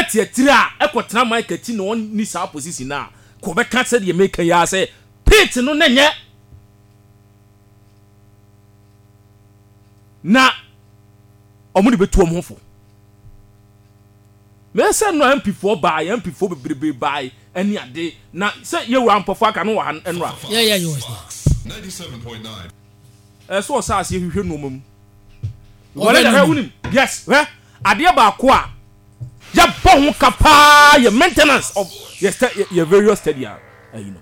Ɛte akyire a ɛkɔtena mic akyi na ɔnni saa position no a, ka ɔbɛka sɛdeɛ meka yi ara sɛ pitch no na nyɛ na wɔn de bɛtu wɔn ho fo. Meyɛ sɛ nnora MP foɔ baae, MP foɔ bebrebe baae ɛne ade, na sɛ yɛwura mpɔfoɔ aka no wɔ ha nnora. Yeah, yeah, he was there. Ɛsɛ sɛ ɔhyɛ aseɛ hwehwɛ nnoɔma mu. Because hwɛ wonim, yes, hwɛ adeɛ baako a yɛbɔ ho ka paa yɛ maintenance of yɛ yɛ various stadia ayi no.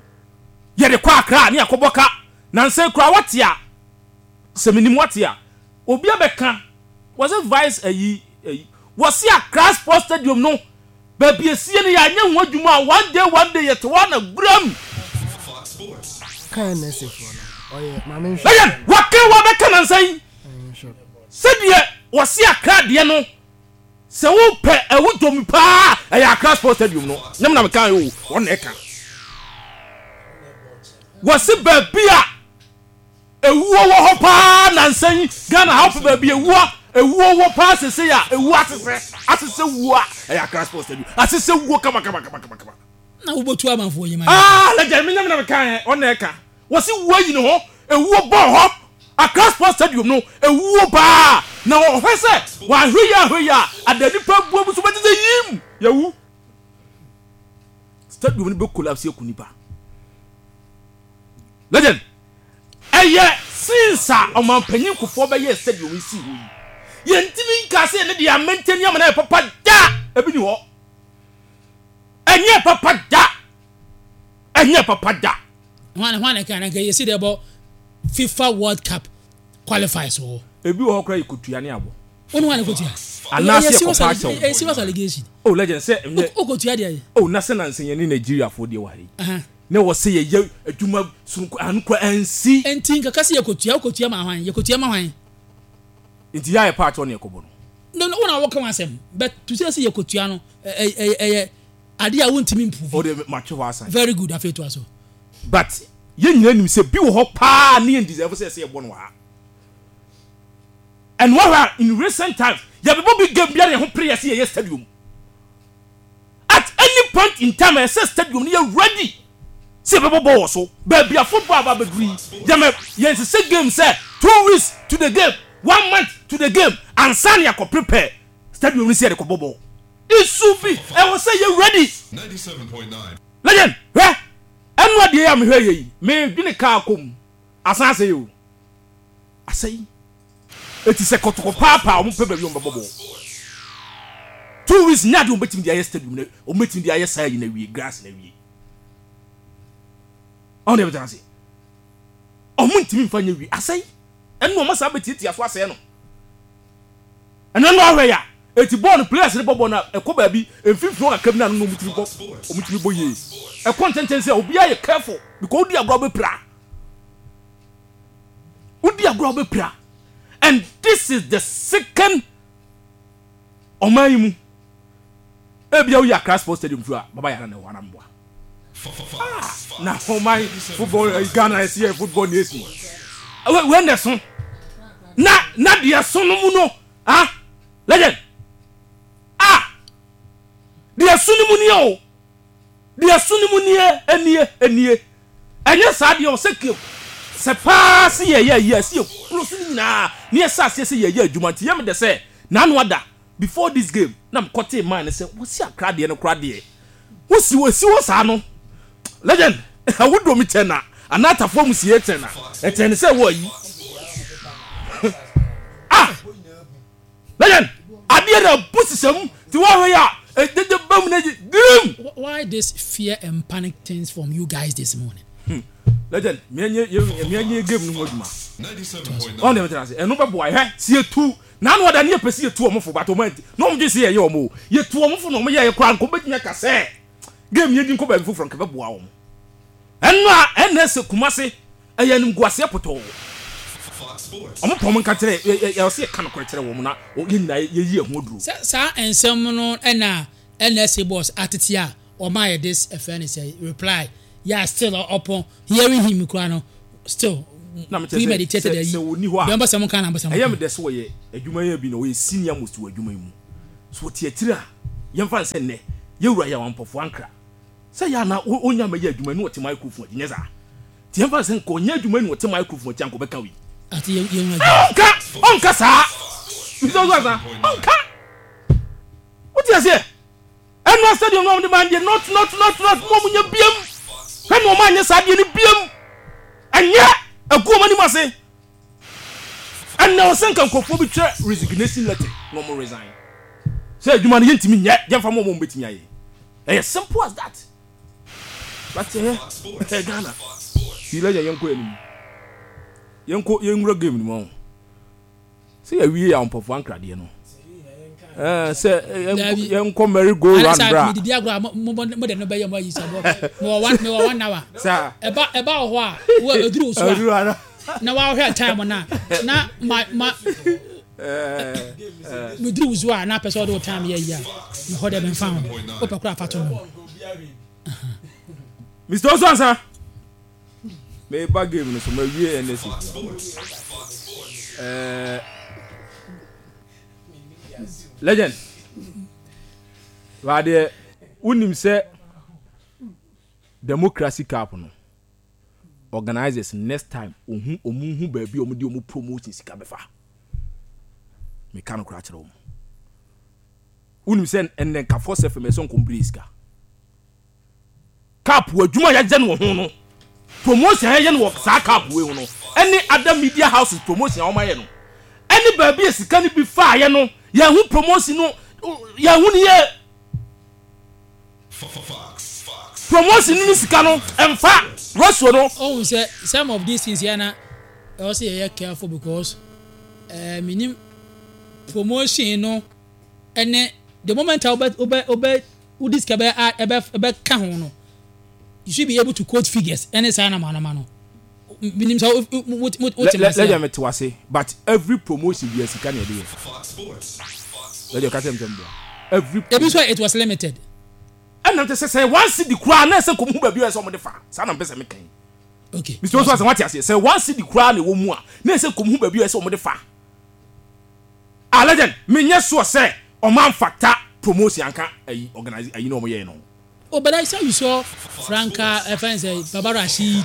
Yɛde kɔ Accra ne yɛakɔbɔ ka. Nansa yi koraa wate a, sɛ menim wate a, obi abɛka, was it vice ayi ayi, wɔse Accra Sports Stadium no baabi esie no yɛanyɛ ho adwuma a one day one day yɛte hɔ a na guram. Kan nurse foɔ no ɔyɛ maame nhwɛ. Lɛyɛn waka wabɛka nansa yi sɛdeɛ wɔse Accra deɛ no sɛ wopɛ ɛwo dɔm paa ɛyɛ Accra Sports Stadium no nyɛ me na meka o wɔn na ɛka wɔse baabi a Ewuo wɔ hɔ paa nansa yi Ghana ha wopɛ baabi ewuo ewuo wɔ paa sesei a ewuo asesɛ asesɛ wuo a ɛyɛ Accra Sports Stadium asesɛ wuo kama kama kama kama kama. Na wobɔtu amanfoɔ yi ma. Ah legend me nyɛ me na me kan ɛ ɔna ɛka wɔsi wuo ayi ne hɔ ewuo bɔɔ hɔ Accra Sports Stadium no ewuo paa na ɔhwɛ sɛ wahwɛ yie ahwɛ yie a ada nipa abuo bi so bɛte sɛ yim yɛwu stadium no bɛ collapse aku nipa legend. Ɛyɛ since a ɔmanpanyin Kufuor bɛyɛɛ stadium yi sii hɔ yi, yɛntumi nkaa sɛ yɛne deɛ amɛntɛni ama no ayɛ papa da! Ebi ni hɔ. Ɛnyɛɛ papa da! Ɛnyɛɛ papa da! Hwan hwan na ɛka na nka yɛsi dɛ bɔ FIFA World Cup qualifiers wɔ hɔ. Ebi wɔ hɔ koraa yɛkɔtua ne abɔ. Wo ne hwan na ɛkɔtua? Anaasɛ yɛkɔfa akyɛw. Ɛyɛ serious allegation. Oh legend sɛ ɛnyɛ. Wokɔtua deɛ. Oh na sɛ nansa yɛne Nigeriafoɔ deɛ wɔ ha yi. Na ɛwɔ sɛ yɛyɛ adwuma sononko ano kora ansi. Enti nka ka sɛ yɛkɔtua, wokɔtua ma hwan? Yɛkɔtua ma hwan? Nti yɛ a yɛpɛ akyɛw na yɛkɔbɔ no. No, no, wo na woka w'asɛm, but to say sɛ yɛkɔtua no, ɛyɛ, ɛyɛ adeɛ a wontumi mprove. O deɛ matwe hɔ asan. Very good, afei toa so. But yɛn nyinaa nim sɛ bi wɔ hɔ paa ne yɛn deserve sɛ ɛsɛ yɛbɔ no wɔ ha. And wɔhwɛ a in recent times yɛbɛbɔ big game biara yɛn ho pere yɛ sɛ yɛyɛ stadium. At any point in time ɛsɛ stadium no yɛ ready sɛ yɛbɛbɔ bɔɔl wɔ so. Baabi a football aba abɛduru yi, yɛma yɛnsesɛ game sɛ 2 weeks to the game, one month to the game ansa na yɛakɔ prepare stadium no sɛ yɛde kɔbɔ bɔɔl. It should be ɛwɔ sɛ yɛ ready. Legend, hwɛ ɛno adeɛ yi a mehwɛ yɛ yi, medwene kaa kɔ mu, asan asɛe o, asɛe. Eti sɛ kɔtɔkɔ paapaa wɔn pɛ baabi wɔn bɛbɔ bɔɔl. 2 weeks nyɛ adeɛ wɔn bɛtumi de ayɛ stadium na wɔn bɛtumi de ayɛ saa yi na wie grass na wie. Ɔn deɛ bɛtena ase. Wɔn ntumi nfa nyɛ wie asɛe. Ɛnu wɔn asan bɛtiatia so asɛe no. Ɛno no ahwɛ ya. Eti bɔɔl no players no bɔ bɔɔl no a ɛkɔ baabi mfimfini hɔ kakra bi na ano na wɔn tumi bɔ wɔn tumi bɔ yie. Ɛkɔ ntɛntɛn sɛ obiara yɛ careful because odi agorɔ bɛpira. Wodi agorɔ a wobɛpira. And this is the second ɔman yi mu. Ebia woyi Accra Sports Stadium firi a, Baba Yara na ɛwɔ anaa mboa. Ah, na ɔman football eh, Ghana ɛsi yɛ football nation. Wei na ɛso. Na na deɛ ɛso no mu no, ah, legend. Ah, deɛ ɛso no mu ni o. Deɛ ɛso no mu nie, nie, nie. Ɛnyɛ saa deɛ ɔsɛ ke sɛ paa se yɛyɛ ayi a ɛsɛ yɛ close no nyinaa na yɛhyɛ aseɛ sɛ yɛyɛ adwuma nti yɛ me dɛ sɛ n'ano ada before this game na me kɔtee man no sɛ wɔsi akra deɛ no kora deɛ wosi wɔsi hɔ saa no legend ɛwo dɔ mi kyɛn na anaa atafoɔ mu sie kyɛn na ɛkyɛn ne sɛ wɔ ayi ah legend adeɛ na bu sisɛ mu ti wɔhwɛ yɛ a ɛdede bam na gye grim. Why this fear and panic things from you guys this morning? Legend, meɛnyɛ meɛnyɛ game no ho adwuma. Ɔn deɛ mɛtena ase ɛno bɛboa hwɛ si yɛtu na ano ɔda ne yɛpɛ si yɛtu wɔn fo but wɔn anti na wɔn gye si yɛyɛ wɔn o yɛtu wɔn fo na wɔn yɛyɛ koraa nka wɔbɛtumi aka sɛ game yɛn di nkɔ baabi foforɔ nka bɛboa wɔn ɛno a ɛna ɛsɛ Kumase ɛyɛ animguaseɛ pɔtɔɔ wɔn pɔn nka kyerɛ yɛ yɛ ɔsɛ yɛka nokorɛ kyerɛ wɔn na yɛn nyinaa yɛyi ɛho aduro. Sɛ saa nsɛm no ɛna NSA boss atete a ɔma yɛ this ɛfɛ ne sɛ reply yɛ still upon hearing him kura no still na mekyɛ sɛ premeditated sɛ ayi sɛ wɔni hɔ a deɛ ɔmpɛ sɛ mo ka na mpɛ sɛ mo ɛyɛ ka. me dɛ sɛ wɔyɛ adwuma yi bi na wɔyɛ senior most wɔ adwuma yi mu so wɔte akyire a. Yɛmfa no sɛ nnɛ, yɛn wura Yaw Ampofo Ankrah, sɛ yɛ a na ɔnnya mmɛyɛ adwuma yi na ɔte microphone akyi, nyɛ saa? Nti yɛmfa no sɛ nka ɔnyɛ adwuma yi na ɔte microphone akyi a, nka ɔbɛka wei? Ate yɛn wura adwuma. Ɔnka! Ɔnka saa! Mr. Osu Ansah, ɔnka! Wote aseɛ? Ɛnoa stadium no a wɔde maa no deɛ, not, not, not, not, mo a monyɛ biam! Hwɛ na wɔn anyɛ saa adeɛ no biam! Ɛnyɛ! Agu wɔn anim ase! Ɛnna ɛwɔ sɛ nka nkurɔfoɔ bi twerɛ resignation letter na wɔn resign. Sɛ adwuma no yɛntumi nyɛ, yɛmfa ma wɔn a wɔbɛtumi ayɛ. Ɛyɛ simple as that. But ɛyɛ ɛyɛ Ghana. Ti lɛyɛ yɛnkɔ yɛn anim. Yɛnkɔ yɛnwura game no mu ɔho. Sɛ yɛwie yɛ ahompɔfoɔ ankradeɛ no. Ɛɛ sɛ yɛnkɔ merry go round bra. Mede di agorɔ a mo mo de no bɛyɛ mo ayi sɛ bɔ. Mewɔ one mewɔ one hour. Ɛba ɛba wɔ hɔ a wo ɛduru so a. Na wahwɛ time na na ma ma meduru wo so a na apɛ sɛ ɔde wo time yɛ yi a mehɔ dɛ memfa ho wopɛ koraa fa to no. Mr. Osu Ansa meba game no so mawie NSA eh, legend badeɛ wonim sɛ democracy cup no organisers next time ohu ɔmo hu baabi a ɔmo de ɔmo promotion sika bɛfa meka no koraa kyerɛ wɔn wonim sɛ ɛnnɛ nka force fm ɛsɛ nkɔm sika Cup adwuma a yɛayɛ no wɔ ho no, promotion a yɛayɛ no wɔ saa cup wei ho no, ɛne other media houses promotion a wɔayɛ no, ɛne baabi a sika no bi faeɛ no, yɛn ho promotion no, yɛn ho no yie. Promotion no ne sika no ɛmfa ratio no. Ohun sɛ some of these things yɛ na ɛwɔ sɛ yɛyɛ careful because ɛɛ eh, minim promotion no ɛne the moment a wobɛ wobɛ wobɛ wode sika bɛ a ɛbɛ ɛbɛka ho no you should be able to quote figures ɛne saa nama nama no minim sɛ wo wo wo wote ma se lẹ́yìn mi te wase but every promotion bi sika na ɛde yɛ lẹ́yìn ɔka kyerɛ mi sɛ mbua every ebi nso it was limited. Ɛna nti sɛ sɛ one cedi koraa na ɛsɛ nkɔmu hu baabi a ɛsɛ wɔn de fa saa na mpɛ sɛ meka yi. Okay. Mr. Osu asɛm wate aseɛ sɛ one cedi koraa na ɛwɔ mu a na ɛsɛ nkɔmu hu baabi a ɛsɛ wɔn de fa. Ah legend me nyɛ sure sɛ ɔmo anfata promotion anka ayi organise ayi na ɔmo yɛɛ no ho. Oh but I saw you saw Franca ɛfɛn sɛ Baba Rasheed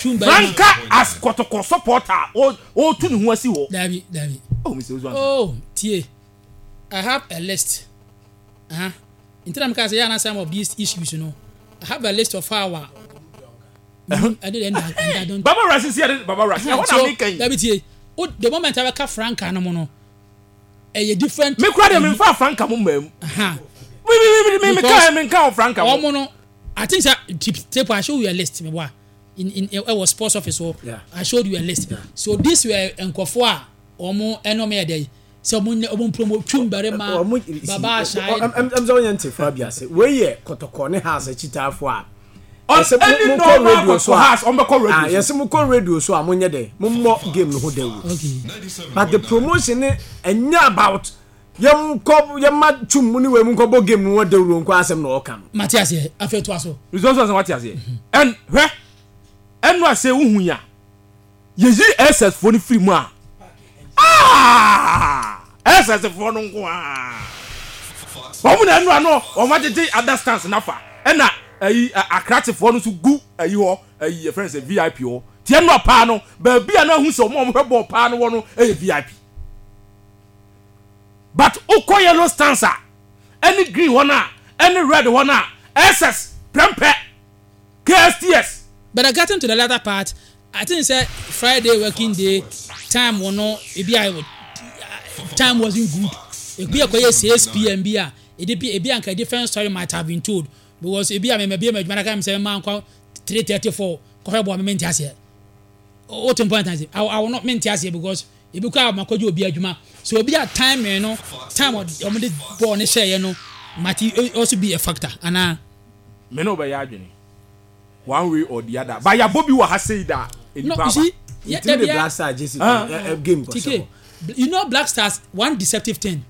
Twum barima. Franca as kɔtɔkɔ supporter a ɔretu ne ho asi hɔ. Dabi dabi. Oh Mister Osu ansa. Oh tie I have a list uh-huh. Nti na meka sɛ yɛ ana some of these issues no I have a list of how a Baba Rasheed si yɛde Baba Rasheed ɛhɔ na meka yi. Dabi tie o the moment abɛka franka no mu no ɛyɛ different. Me kura deɛ me nfa franka mu mmaa mu. Mi mi mi mi mi ka mi nka wɔ franka mu. Wɔn no I think sɛ tip tape I show you a list mi wa in in ɛwɔ sports office hɔ I showed you a list so this were nkurɔfoɔ a wɔn ɛna wɔn yɛ dɛ yi. Sɛ ɔmo nyɛ ɔmo mpromo twum barima baba ahyai. Ɛm sɛ ɔnyɛ nte fa bi ase. Wei yɛ kɔtɔkɔ ne house akyitaafo a. Yɛsɛ mo kɔ radio so a. Yɛsɛ mo kɔ radio so a mo nyɛ dɛ mo mmɔ game no ho dawuro. But the promotion ne ɛnyɛ about yɛn kɔ yɛn ma twum mu ne wei mu nkɔ bɔ game no ho dawuro nko asɛm na ɔka no. Mate aseɛ afei to aso. Response asɛm wate aseɛ. Ɛn hwɛ ɛno ase wohu ya. Yɛyi SS foɔ no firi mu a, aah! SS foɔ no nko ara. Wɔn na ɛno ano wɔn agyegye other stands no afa. Ɛna ayi akrakye foɔ no nso gu ayi hɔ, ayi yɛfrɛ no sɛ VIP hɔ. Ti ɛno paa no, baabi a na ahu sɛ wɔn a wɔhwɛ bɔɔl paa no wɔ no yɛ VIP. But wokɔ yellow stands a, ɛne green hɔ no a, ɛne red hɔ no a, SS prɛmpɛ, KSTS. But I gotten to the latter part, I think sɛ Friday working day time wɔ no ebi a time wasn't good ebi a kɔyɛ 6 pm bi a ebi bi ebi anka different story might have been told because ebi a mɛmɛ bi ma adwuma na ka mi sɛ mɛma nkɔ 3:34 kɔhwɛ bɔ a mɛmɛ nti aseɛ o te point ase awo no mɛ nti aseɛ because ebi kɔ a ma kɔgye obi adwuma so obi a time no time wɔn de bɔɔl ne hyɛ yɛ no might also be a factor anaa. Me ne wo bɛyɛ adwene. One way or the other but yabɔ bi wɔ ha sei da No, nnipa you aba. see, yeah, Yɛtumi de yeah, Black Stars gyesi Ah. ɛ ɛ game kɔhyɛ TK, hɔ. you know Black Stars one deceptive thing.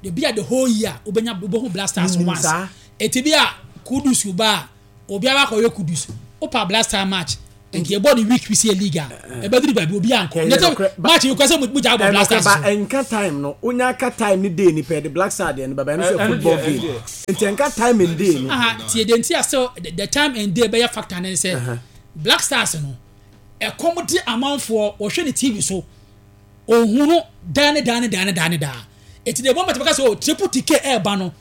They be at the whole year, wobɛnya wobɛhu Black Stars Menim once. saa. Eti bi a Kudus ba a, obiara akɔyɛ Kudus. Wopa Black Star match. Nti yɛbɔ ne week bi sɛ yɛ league a, ɛbɛduru baabi obi ankɔ. Nyɛ sɛ match yi kɔ sɛ mo gya abɔ Black Stars so. Ɛnka time no, wonya aka time ne day ni pɛ de Black Star deɛ no bɛba, ɛno nso yɛ football game. Nti ɛnka time and day no. Aha, tie deɛ nti a still the time and day bɛyɛ factor ne sɛ Black Stars no, ɛkɔm de amanfoɔ wɔhwɛ ne TV so, ohunu daa ne daa ne daa ne daa ne daa. Eti the moment bɛka sɛ oh triple TK ɛɛba no,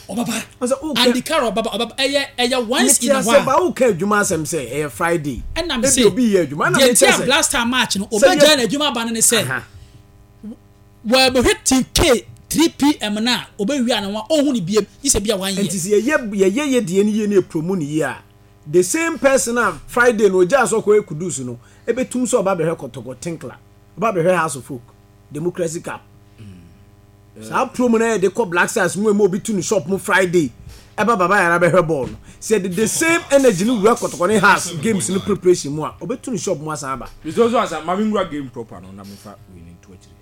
ɔbɛba. Andy Carroll ɔbɛba, ɔbɛba. Ɛyɛ ɛyɛ once in a while. Mete ase ba woka adwuma asɛm sɛ ɛyɛ Friday. Ɛna me se, obi yɛ adwuma. Ɛna me kyɛ sɛ. Black Star match no, ɔbɛgyae n'adwuma aba no ne sɛ, wɔbɛhwɛ TK 3 pm no a, ɔbɛwie a na wɔn ɔnhu ne biem, gye sɛ bi a one year. Nti sɛ yɛyɛ yɛyɛ yɛ deɛ no yie na yɛ promo no yie a, the same person a Friday no ɔgyaa sɛ ɔkɔyɛ Kudus no, ɛbɛtum sɛ ɔba bɛhwɛ Kɔtɔkɔ Tinkler, ɔba bɛhwɛ House of Folk, Democracy Cup. Saa promo no yɛde kɔ Black Stars mu ɛma obi tu ne shop mu Friday ɛba Baba Yara bɛhwɛ bɔɔl no. Sɛ yɛde the same energy no wura Kɔtɔkɔ ne Hearts games no preparation mu a, ɔbɛtu ne shop mu asan aba. Mr. Osu ansa, ma menwura game proper no na memfa wei no nto akyire.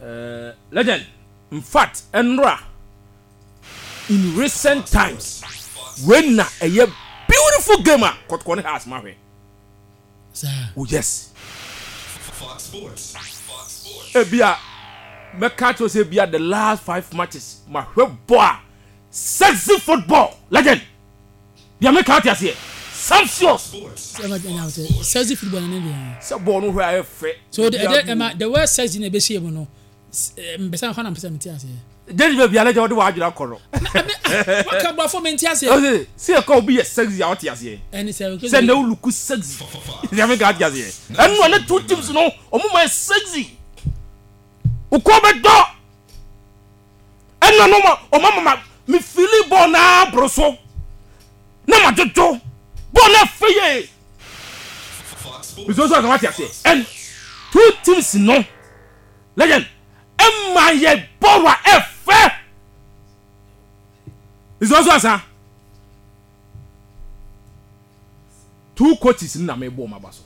Eh, legend, in fact, ɛnora, in recent times, wei na ɛyɛ beautiful game a Kɔtɔkɔ ne Hearts mahwɛ. Saa. Oh yes. Ebia mɛka akyerɛ sɛ ebia the last five matches mahwɛ bɔ a sexy football legend. Deɛ meka ate aseɛ. Sumptuous. Sexy football ne deɛ. Sɛ bɔɔl no hwɛ a ɛyɛ fɛ. So the, the, the word sexy na ɛbɛhyɛ mu no. Mpɛsɛ hɔ na mpɛsɛ mete aseɛ. Gyedi baabi a na gya wɔde w'adwene akɔ no. Waka borɔfo mente aseɛ. Ɔse sɛ yɛka obi yɛ sexy a ɔte aseɛ. Ɛne sɛ sɛ na wo look sexy. Deɛ meka ate aseɛ. Ɛno a na two teams no ɔmo ma yɛ sexy. Wokɔ bɛdɔ. Ɛno no ɔmo ama ma me feeli bɔɔl naa boro so. Na ma dwodwo. Bɔɔl no ɛfɛ yie. Nso nso ɔsɛ wate aseɛ. And two teams no legend ɛma yɛ bɔɔl a ɛfɛ. Nso nso asa. Two coaches no na mebɔ wɔn aba so.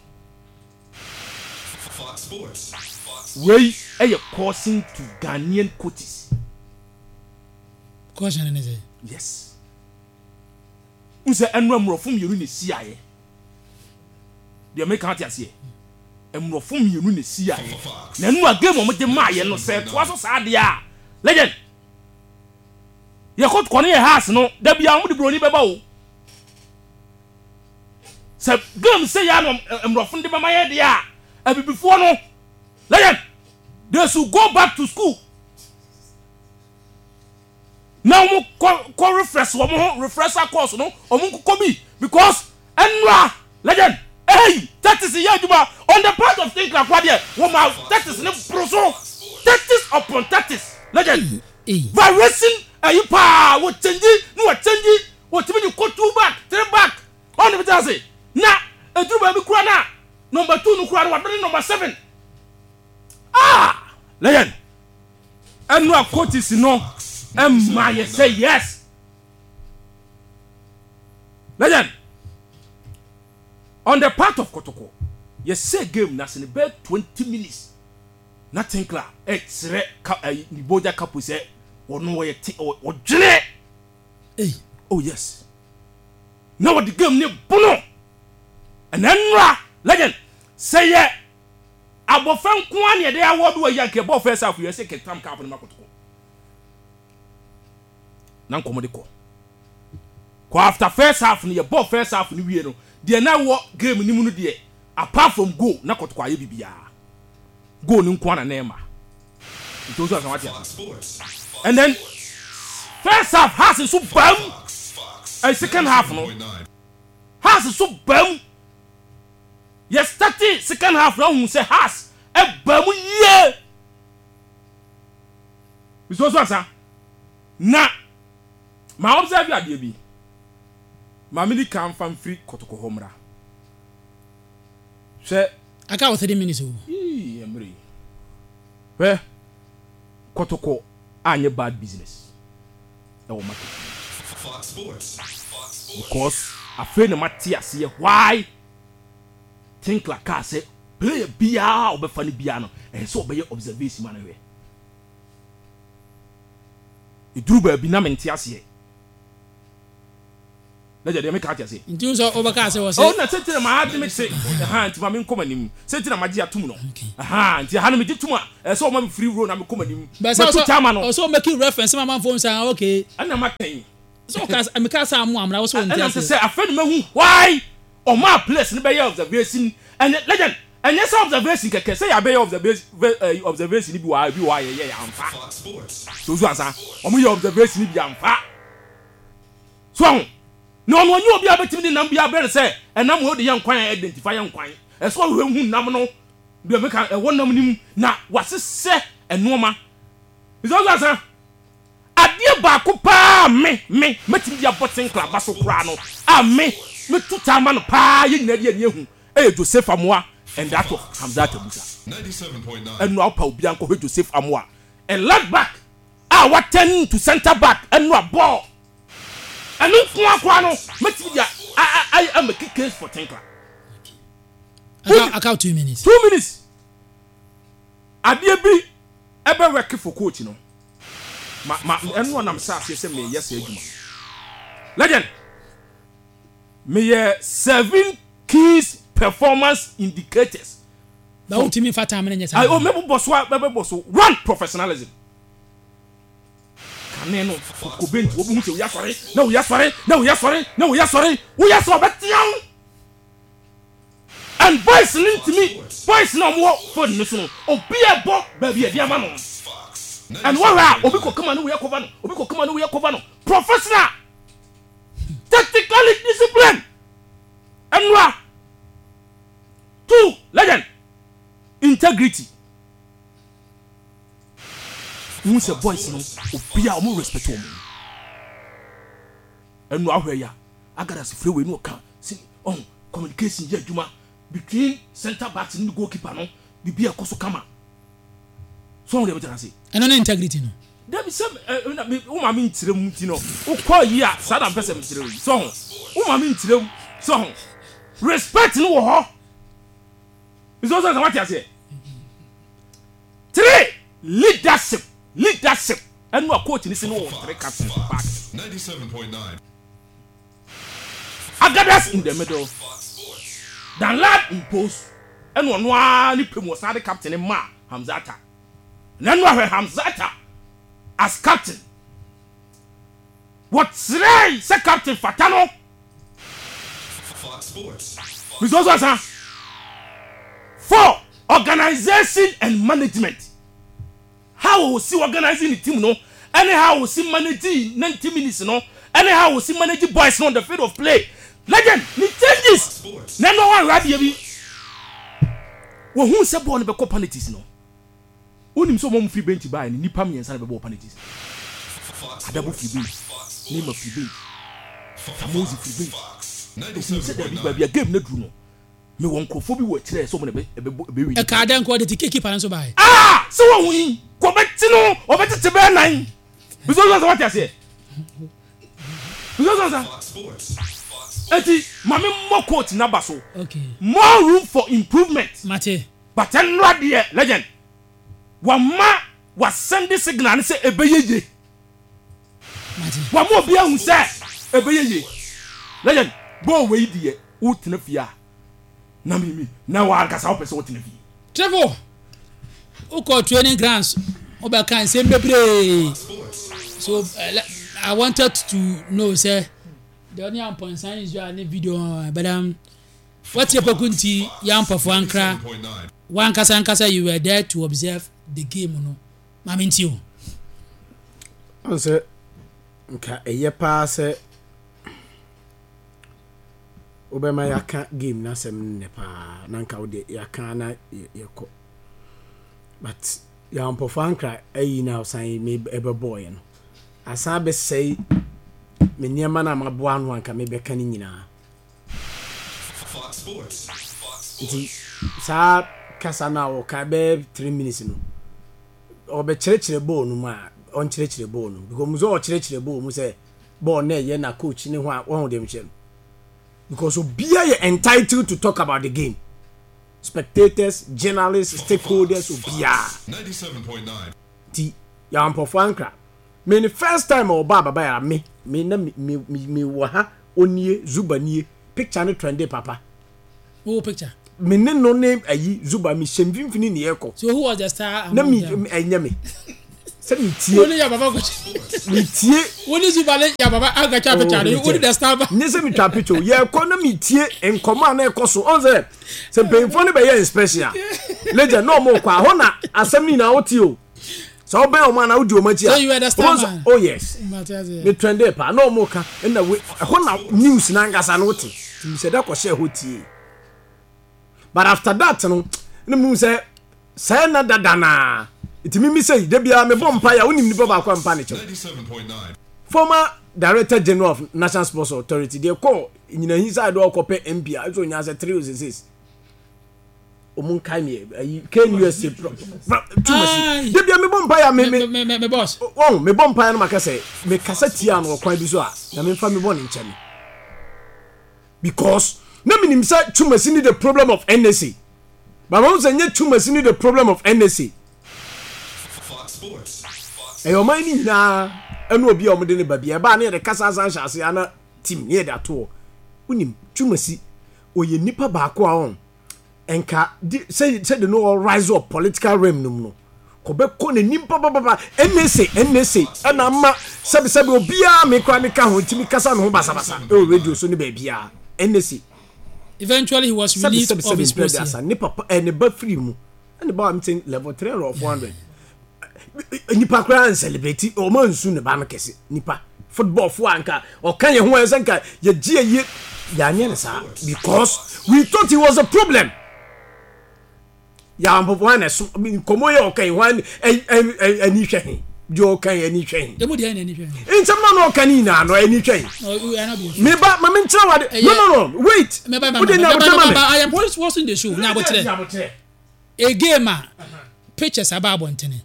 Wei ɛyɛ causing to Ghanaian coaches. Caution ne sɛ. Yes. N sɛ ɛno mmorɔfo mmienu na esiaeɛ. Deɛ meka ate aseɛ. Mmorɔfo mmienu na esiaeɛ. Na ɛno a game a wɔde maayɛ no sɛ ɛtoa so saa deɛ a legend. Yɛkɔ kɔ ne yɛ house no da bi a wɔde buroni bɛba o. Sɛ game sɛ yɛ ano mmorɔfo no de bɛma yɛ deɛ a abibifoɔ no legend they should go back to school. Na wɔn kɔ kɔ refresh wɔn ho refresher course no wɔn nkokɔ bi because ɛnura legend hey tactics yɛ adwuma on the part of Tinkler kora deɛ wɔn ma tactics ne boro so tactics upon tactics legend variation ɛyi paa wɔ change ne wɔ change wɔtumi de kɔ two back three back ɔn ne bi te ase na eduru baabi kora na number two no kora no wadone number seven ah legend. Ɛno a coaches no ma yɛ sɛ yes. Legend, on the part of Kotoko, yɛsɛ game no ase no bɛyɛ 20 minutes na Tinkler ɛkyerɛ ka ɛyi ne Boja Kapo sɛ ɔno ɔyɛ te ɔdwene. Ei. Oh yes. Na wɔde game ne bono. Ɛna nnura legend sɛ yɛ Abɔfra nko ara na yɛde award wɔ yi a nka yɛbɔɔ first half yi ɛsɛ kɛtam cup no ma kɔtɔkɔ na nkɔmɔ de kɔ kɔ after first half no yɛbɔɔ first half no wie no deɛ na ɛwɔ game no mu no deɛ apart from goal na kɔtɔkɔ ayɛ biribiara goal no nko ara na na ɛma nti nso asan wate ase and then first half Hearts nso bam ɛyɛ second half no Hearts nso bam. Yɛ startee second half na wohu sɛ Hearts baa mu yie. Nso so ansa na ma observe adeɛ bi. Ma me di kan fa mfiri kɔtɔkɔ hɔ mmra. Hwɛ. Aka wɔ 30 minutes o. Yii mmerɛ yi. Hwɛ kɔtɔkɔ anyɛ bad business ɛwɔ market mu. Because afei na mate aseɛ why Tinkler kaa sɛ player biara a ɔbɛfa no biara no, ɛsɛ sɛ ɔbɛyɛ observation ma no hwɛ. Ɛduru baabi na mente aseɛ. Lɛgya deɛ meka ate aseɛ. Nti wo sɛ wobɛka sɛ wɔ sɛ. Oh na sɛ na maa de me te ɛha nti ma me nkɔ m'anim sɛ nti na magye atum no ɛha nti ɛha no megye tum a ɛsɛ ɔma me free roll na mekɔ m'anim matu kyama no. Ɔsɛ ɔmɛki reference ma amanfoɔ nsa ah okay. Ɛna ma kɛn. Sɛ ɔka meka sɛ amo amena wo sɛ ɔnte aseɛ. Ɛna sɛ afei na mahu why ɔmaa place no bɛyɛ observation ɛnyɛ legend ɛnyɛ sɛ observation kɛkɛ sɛ yɛabɛyɛ observation observation bi wɔ ha ebi wɔ ha yɛyɛ yɛ amfa so so ansa wɔn yɛ observation bi amfa. So wahu? Na ɔno ɔnyɛ obi a wobɛtumi de nam bi abrɛ no sɛ ɛnam wei wode yɛ nkwan a ɛyɛ dɛ nti fa yɛ nkwan. Ɛsɛ sɛ ɔhwehwɛ hu nam no, deɛ meka ɛwɔ nam no mu, na wasesɛ nnoɔma. Nti ɔsɛ asa, adeɛ baako paa a me, me, mɛtumi de abɔ Tinkler aba so koraa no, a me, mɛtu taa ma no paa, yɛn nyinaa de ani ahu, ɛyɛ Joseph Amoah and that of Hamzat Abusa. Ɛno a wopa obiara nkɔhwɛ Joseph Amoah, a left back a wa turn to centre back ɛno a bɔɔl ɛno nko ara koraa no mɛtumi de a a make case for Tinkler. Aka 2 minutes. 2 minutes. Adeɛ bi ɛbɛ work for coach no ma ɛno anam sɛ aseɛ sɛ meyɛ sɛ adwuma legend meyɛ seven keys performance indicators. Ba wotumi nfa time no nyɛ saa. Ayi o mɛbobɔ so a mɛbɛbɔ so. One, professionalism. Kane no kokobe nti wɔbɛhu sɛ woyɛ asɔre na woyɛ asɔre na woyɛ asɔre na woyɛ asɔre woyɛ sɛ ɔbɛtea wo and boys no ntumi boys na wɔwɔ phone no so no obi ɛbɔ baabi ɛde ama no and wɔhwɛ a obi kɔ kama no woyɛ cover no obi kɔ kama no woyɛ cover no professional, tactically discipline ɛnura. Two, legend, integrity. Wohu sɛ boys no obi a wɔn respect wɔn. Ɛnu ahwɛ ya agadas firi wei no ɔka sɛ ɔn communication yɛ adwuma between centre backs ne goalkeeper no bibi ɛkɔ so kama. So ɔn deɛ bɛtɛ ase. Ɛno ne integrity no. Dabi sɛ ɛ na me wo maame nkyerɛ mu nti no wokɔ yi a saa na mpɛ sɛ mekyerɛ yi so ho wo maame nkyerɛ mu so ho respect no wɔ hɔ nso sɛ sɛ wate aseɛ. Three, leadership leadership ɛno a coach ni si no wɔ three captains wɔ park Agadas in the middle, Danlad in post, ɛna ɔno ara ne pɛ mu ɔsan de captain ma Hamzata. Na ɛno ahwɛ Hamzata as captain. Wɔkyerɛe sɛ captain fata no. Mr. Osu Asa. Four, organisation and management. How osi organizing the team no, ɛne how osi manage 90 minutes no, ɛne how osi manage boys no on the field of play. Legend, ne changes. Na ɛno ahwɛ adeɛ bi. Wɔhu sɛ bɔɔl no bɛkɔ penalties no. Wonim sɛ wɔn firi bench baeɛ no, nnipa mmiɛnsa na bɛbɔɔ penalties. Adabo firi bench, Neymar firi bench, Samozi firi bench. Ohun sɛ dabi baabi a game no aduru no, mewɔ nkurɔfoɔ bi wɔ akyire a ɛsɛ wɔn na ɛbɛbɔ ɛbɛwi. Ɛkaa dɛn nka ɔde ti keeper no nso baeɛ. Ah! Sɛ wɔn yi, kɔ ɔbɛte no, ɔbɛtete bɛyɛ nan. Bisɛ sɛ wate aseɛ. Bisɛ sɛ eti maame mmɔ coach n'aba so. Okay. More room for improvement. Mate. But ɛnora deɛ legend wama wa send signal no sɛ ɛbɛyɛ ye. Wama obi ahu sɛ ɛbɛyɛ ye. Legend bɔɔl wei deɛ wotena fie a na mimi na wankasa wopɛ sɛ wotena fie. Triple wokɔ training grounds wobɛka nsɛm bebree so I wanted to know sɛ deɛ ɔne ampɔnsan Israel ne video but watie poku nti yɛ ampɔfo ankra wankasa ankasa you were there to observe the game no maame nti o. Ɔn sɛ nka ɛyɛ paa sɛ wobɛma yɛaka game no asɛm no nnɛ paa na nka wode yɛaka na yɛkɔ but yɛampɔfo ankra ayi na ɔsan me ɛbɛbɔɔyɛ no asan bɛsɛe me nneɛma no a maboa ano anka mebɛka no nyinaa. Nti saa kasa no a ɔka bɛyɛ 3 minutes no, ɔbɛkyerɛkyerɛ bɔɔl no mu a, ɔnkyerɛkyerɛ bɔɔl no mu because mu sɛ ɔkyerɛkyerɛ bɔɔl mu sɛ bɔɔl no ɛyɛ na coach ne ho a wɔn deɛ mekyerɛ no because obiara yɛ entitled to talk about the game, spectators, journalists, stakeholders, obiara. Nti yɛampɔfo ankra me ne first time a ɔba ababa yɛra me na me me me wɔ ha. Onie, Zuba nie. Picture no trende papa. Wo picture? Me ne no ne ayi Zuba me hyɛ mfimfini ne yɛkɔ. So who was the star Na among me them? ɛnyɛ me. Sɛ me tie. Wo ne Yababa kɔ. Me tie. Wo ne Zuba ne Yababa akɔtwa Oh, picture no. Wo ne the star ba. Nye sɛ metwa picture o. Yɛkɔ na me tie nkɔmɔ a na ɛkɔ so. Ɔn sɛ sɛ mpanyinfoɔ no bɛyɛ inspection a. Legend na ɔmo kɔ a hɔ na asɛm no nyinaa wote o. Sɛ wobɛn ɔmo anaa wodi ɔmo akyi a. So you were the star man. Oh yes. Me trende paa na ɔmo ka ɛna we ɛhɔ na news n'ankasa no wote. Nti mehyɛ da kɔhyɛ hɔ tie. But after that no na mehu sɛ sɛɛ na dada naa. Nti mimi sɛ da biara mebɔ mpaeɛ a wonim nipa baako a mpa ne kyɛw. Former Director General of National Sports Authority deɛ kɔɔ nyinahi side ɔkɔpɛ MP a ɛsɛ onya sɛ 3 or 6. Ɔmo nkae me ayi KNUST pro tumasi. Da bia mebɔ mpaeɛ a me me me me boss. Wɔn mebɔ mpaeɛ no maka sɛ mekasa tia no ɔkwan bi so a na memfa mebɔ ne nkyɛn me. Because na menim sɛ tumasi ne the problem of NSA. But wɔn sɛ nyɛ tumasi ne the problem of NSA. Ɛyɛ ɔman no nyinaa ɛne obi a wɔde ne ba bi ɛbaa ne yɛde kasa asan hyɛ ase ana team ne yɛde ato hɔ. Wonim tumasi ɔyɛ nipa baako a ɔn nka di sɛ sɛ de no ɔ rise up political realm no mu no kɔbɛkɔ n'anim papapapa NSA NSA ɛna ama sɛbisɛbi obiara me koraa meka ho ntumi kasa me ho basabasa ɛwɔ radio so ne baabiara NSA. Eventually he was released sɛbi of sɛbi his sɛbi post. mpɛ ne papa ɛ ne ba firi mu ɛne ba wa mi level 300 or 400 nipa koraa nsɛlɛbrɛti ɔmo nsu ne ba no kɛse nipa football fo anka ɔka yɛn ho ɛsɛ nka yɛgye yɛ yɛanyɛ ne saa because we thought it was a problem yɛampɔpɔ hwan na ɛso nkɔmmɔ yɛ ɔka yi hwan ani hwɛ he deɛ ɔka yi ani hwɛ he emu deɛ ani hwɛ he nsɛm na ɔka ne nyinaa no ani hwɛ he meba ma menkyerɛ wade no no no wait wode nyabotrɛ ma me I am watching the show nyabotrɛ A game a pictures aba abɔntene.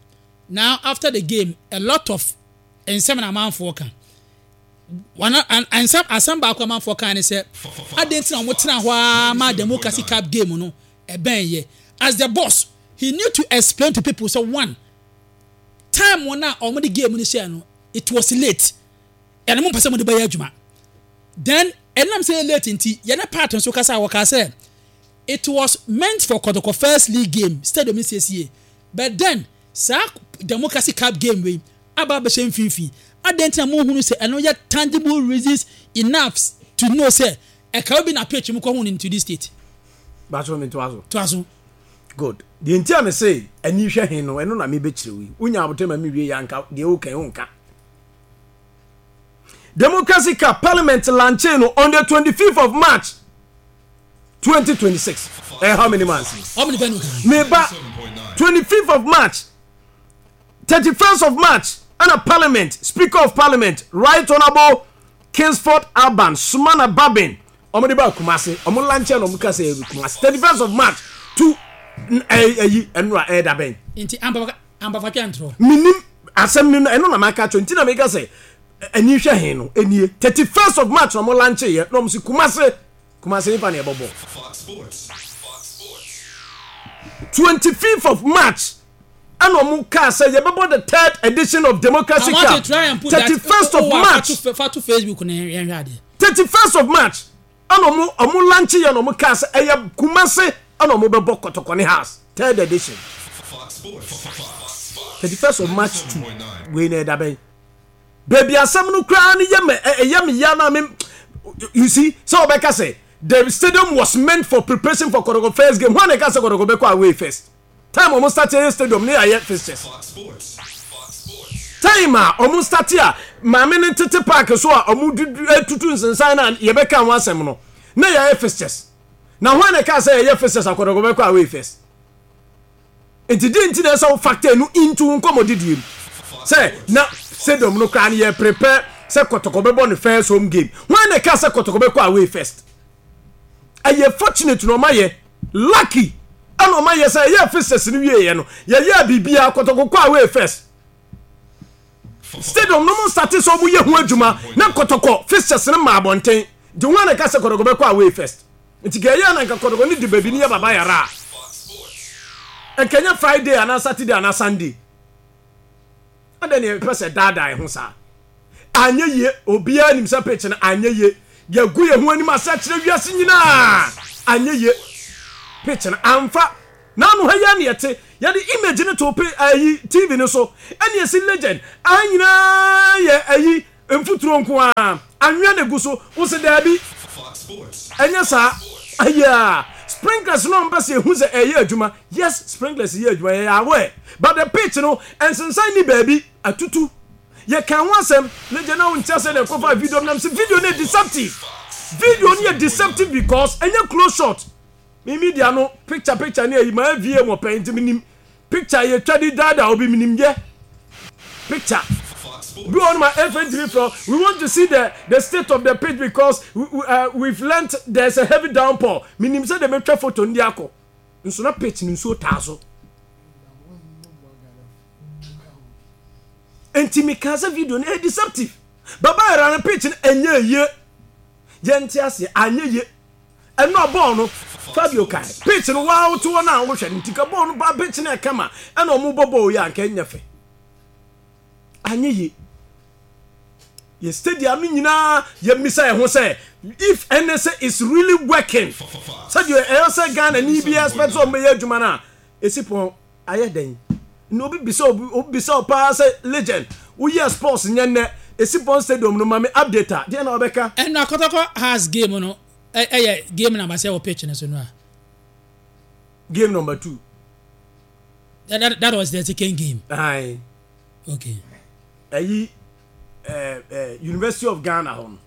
Now after the game a lot of nsɛm na amanfoɔ ka. One nsɛm asɛm baako amanfoɔ ka ne sɛ adɛn nti na wɔn tena hɔ ara ma democracy cup game no ɛbɛn yɛ. As the boss he need to explain to people sɛ one time wɔn a wɔn de game no hyɛɛ no it was late. Ɛna mo mpɛ sɛ mo de bɛyɛ adwuma. Then ɛnam sɛ ɛyɛ late nti yɛne part nso kasa a wɔkaa sɛ It was meant for Kɔtɔkɔ first league game stadium no siesie but then saa Democracy cup game wei aba abɛhyɛ mfimfini adɛn nti na monhunu sɛ ɛno yɛ tangible reasons enough to know sɛ ɛka obi na pitch mu kɔhu no into this state. Baso me toa so. Toa so. Good. Deɛ nti a me se ani hwɛ he no ɛno na mebɛkyerɛ wo yi. Wonya abotire ma mewie yɛ anka deɛ woka yi wonka. Democracy Cup Parliament lankyee no on the 25th of March 2026 ɛyɛ how many months meba 25th of March 31st of March ɛna Parliament Speaker of Parliament Right Honourable Kingsford Alban Sumana Babin wɔn de ba Kumasi wɔn lankyɛ na wɔn kasa yɛ Kumasi 31st of March to ɛyi ɛnura ɛyɛ dabɛn. Nti ampafatwa ntorɔ. Minim asɛm no ɛno na maka kyerɛ nti na meka sɛ ɛni hwɛ he no ɛnie 31st of March na wɔn lankyɛ yɛ na wɔn si Kumasi. Kumasi nipa na ɛbɔ bɔɔl. 25th of March ɛna ɔmo kaa sɛ yɛbɛbɔ the third edition of Democracy Cup 31st of March. Fa to Facebook na yɛn hwɛ adeɛ. 31st of March ɛna ɔmo ɔmo lanche yɛ na ɔmo kaa sɛ ɛyɛ Kumasi ɛna ɔmo bɛbɔ Kɔtɔkɔ ne House third edition. 31st of March to wei na ɛda bɛn. Baabi asɛm no koraa no yɛ me ɛyɛ me ya na me you see sɛ wɔbɛka sɛ the stadium was meant for preparation for Kotoko first game hwan na ɛka sɛ Kotoko bɛkɔ away first time wɔn start yɛ stadium ne yɛayɛ fixtures time a wɔn start a maame no tete park so a wɔn dudu etutu nsensan na yɛbɛka ho asɛm no na yɛayɛ fixtures na hwan na ɛka sɛ yɛyɛ fixtures a Kotoko bɛkɔ away first. Nti deɛ nti na ɛsɛ wo factor no into wo nkɔmmɔdidie mu sɛ na stadium no koraa no yɛ prepare sɛ kɔtɔkɔ bɛbɔ ne first home game. Hwan na ɛka sɛ kɔtɔkɔ bɛkɔ away first? Ɛyɛ fortunate na ɔma yɛ lucky ɛna ɔma yɛ sɛ ɛyɛ fixtures no wieɛ no yɛyɛ biribiara kɔtɔkɔ kɔ away first. Stadium no mo starte sɛ ɔmo yɛ ho adwuma na kɔtɔkɔ fixtures no ma abɔnten. Nti hwan na ɛka sɛ kɔtɔkɔ bɛkɔ away first? Nti ka ɛyɛ a na nka kɔtɔkɔ no di baabi no yɛ baba yara a, nka ɛnyɛ Friday anaa Saturday anaa Sunday. Adɛn na yɛpɛ sɛ daadaa yɛn ho saa? Anyɛ yie, obiara nim sɛ pitch no anyɛ yie. Yɛagu yɛn ho anim ase akyerɛ wiase nyinaa. Anyɛ yie. Pitch no amfa. N'ano ha yi ara na yɛte. Yɛde image no too pe ayi TV no so. Ɛna yɛsi legend. Aha nyinaa yɛ ayi mfuturo nko ara. Anwea na egu so. Wo se daabi. Ɛnyɛ saa. Ayaa. Sprinklers no a wɔpɛ sɛ yɛhu sɛ ɛyɛ adwuma. Yes, sprinklers yɛ adwuma. Yɛyɛ aware. But the pitch no, nsensan nni baabi. Atutu. Yɛkaa ho asɛm na gya na wonte aseɛ na ɛkɔfaa video no na mese video no yɛ deceptive. Video no yɛ deceptive because ɛnyɛ close shot. Me media no picture picture ne ayi mayɛ VA mu ɔpɛn nti menim picture yɛtwa de daadaa obi menim yɛ picture. Bi wɔ hɔ no ma ɛfɛ ntumi frɛ we want to see the the state of the pitch because we, we've learnt there's a heavy downpour. Menim sɛ de metwa photo no de akɔ nso na pitch no nsuo taa so. Enti mekaa sɛ video no ɛyɛ deceptive. Baba yɛra no pitch no ɛnyɛ yie. Yɛnte aseɛ anyɛ yie. Ɛno a bɔɔl no Fabio kae pitch no waa wote hɔ no a wohwɛ no nti ka bɔɔl no ba pitch no ɛkama ɛna ɔmo bɔ bɔɔl yi a nka ɛnyɛ fɛ. Anyɛ yie. Yɛ stadium no nyinaa yɛmmisa yɛn ho sɛ if NSA is really working sɛdeɛ ɛyɛ sɛ Ghana ni bi expect sɛ ɔmo bɛyɛ adwuma no a ɛsi pɔn Ayɛ dɛn na obi bisa obi obi bisa wo paa sɛ legend woyɛɛ sports nyɛ nnɛ Esipɔn stadium no ma me update a deɛn na wobɛka? Ɛno Akɔtɔkɔ Hearts game no ɛyɛ game number sɛ wɔ pitch no so no a. Game number 2. That was the second game. Aye. Okay. Ɛyi eh, eh, University of Ghana hɔ no.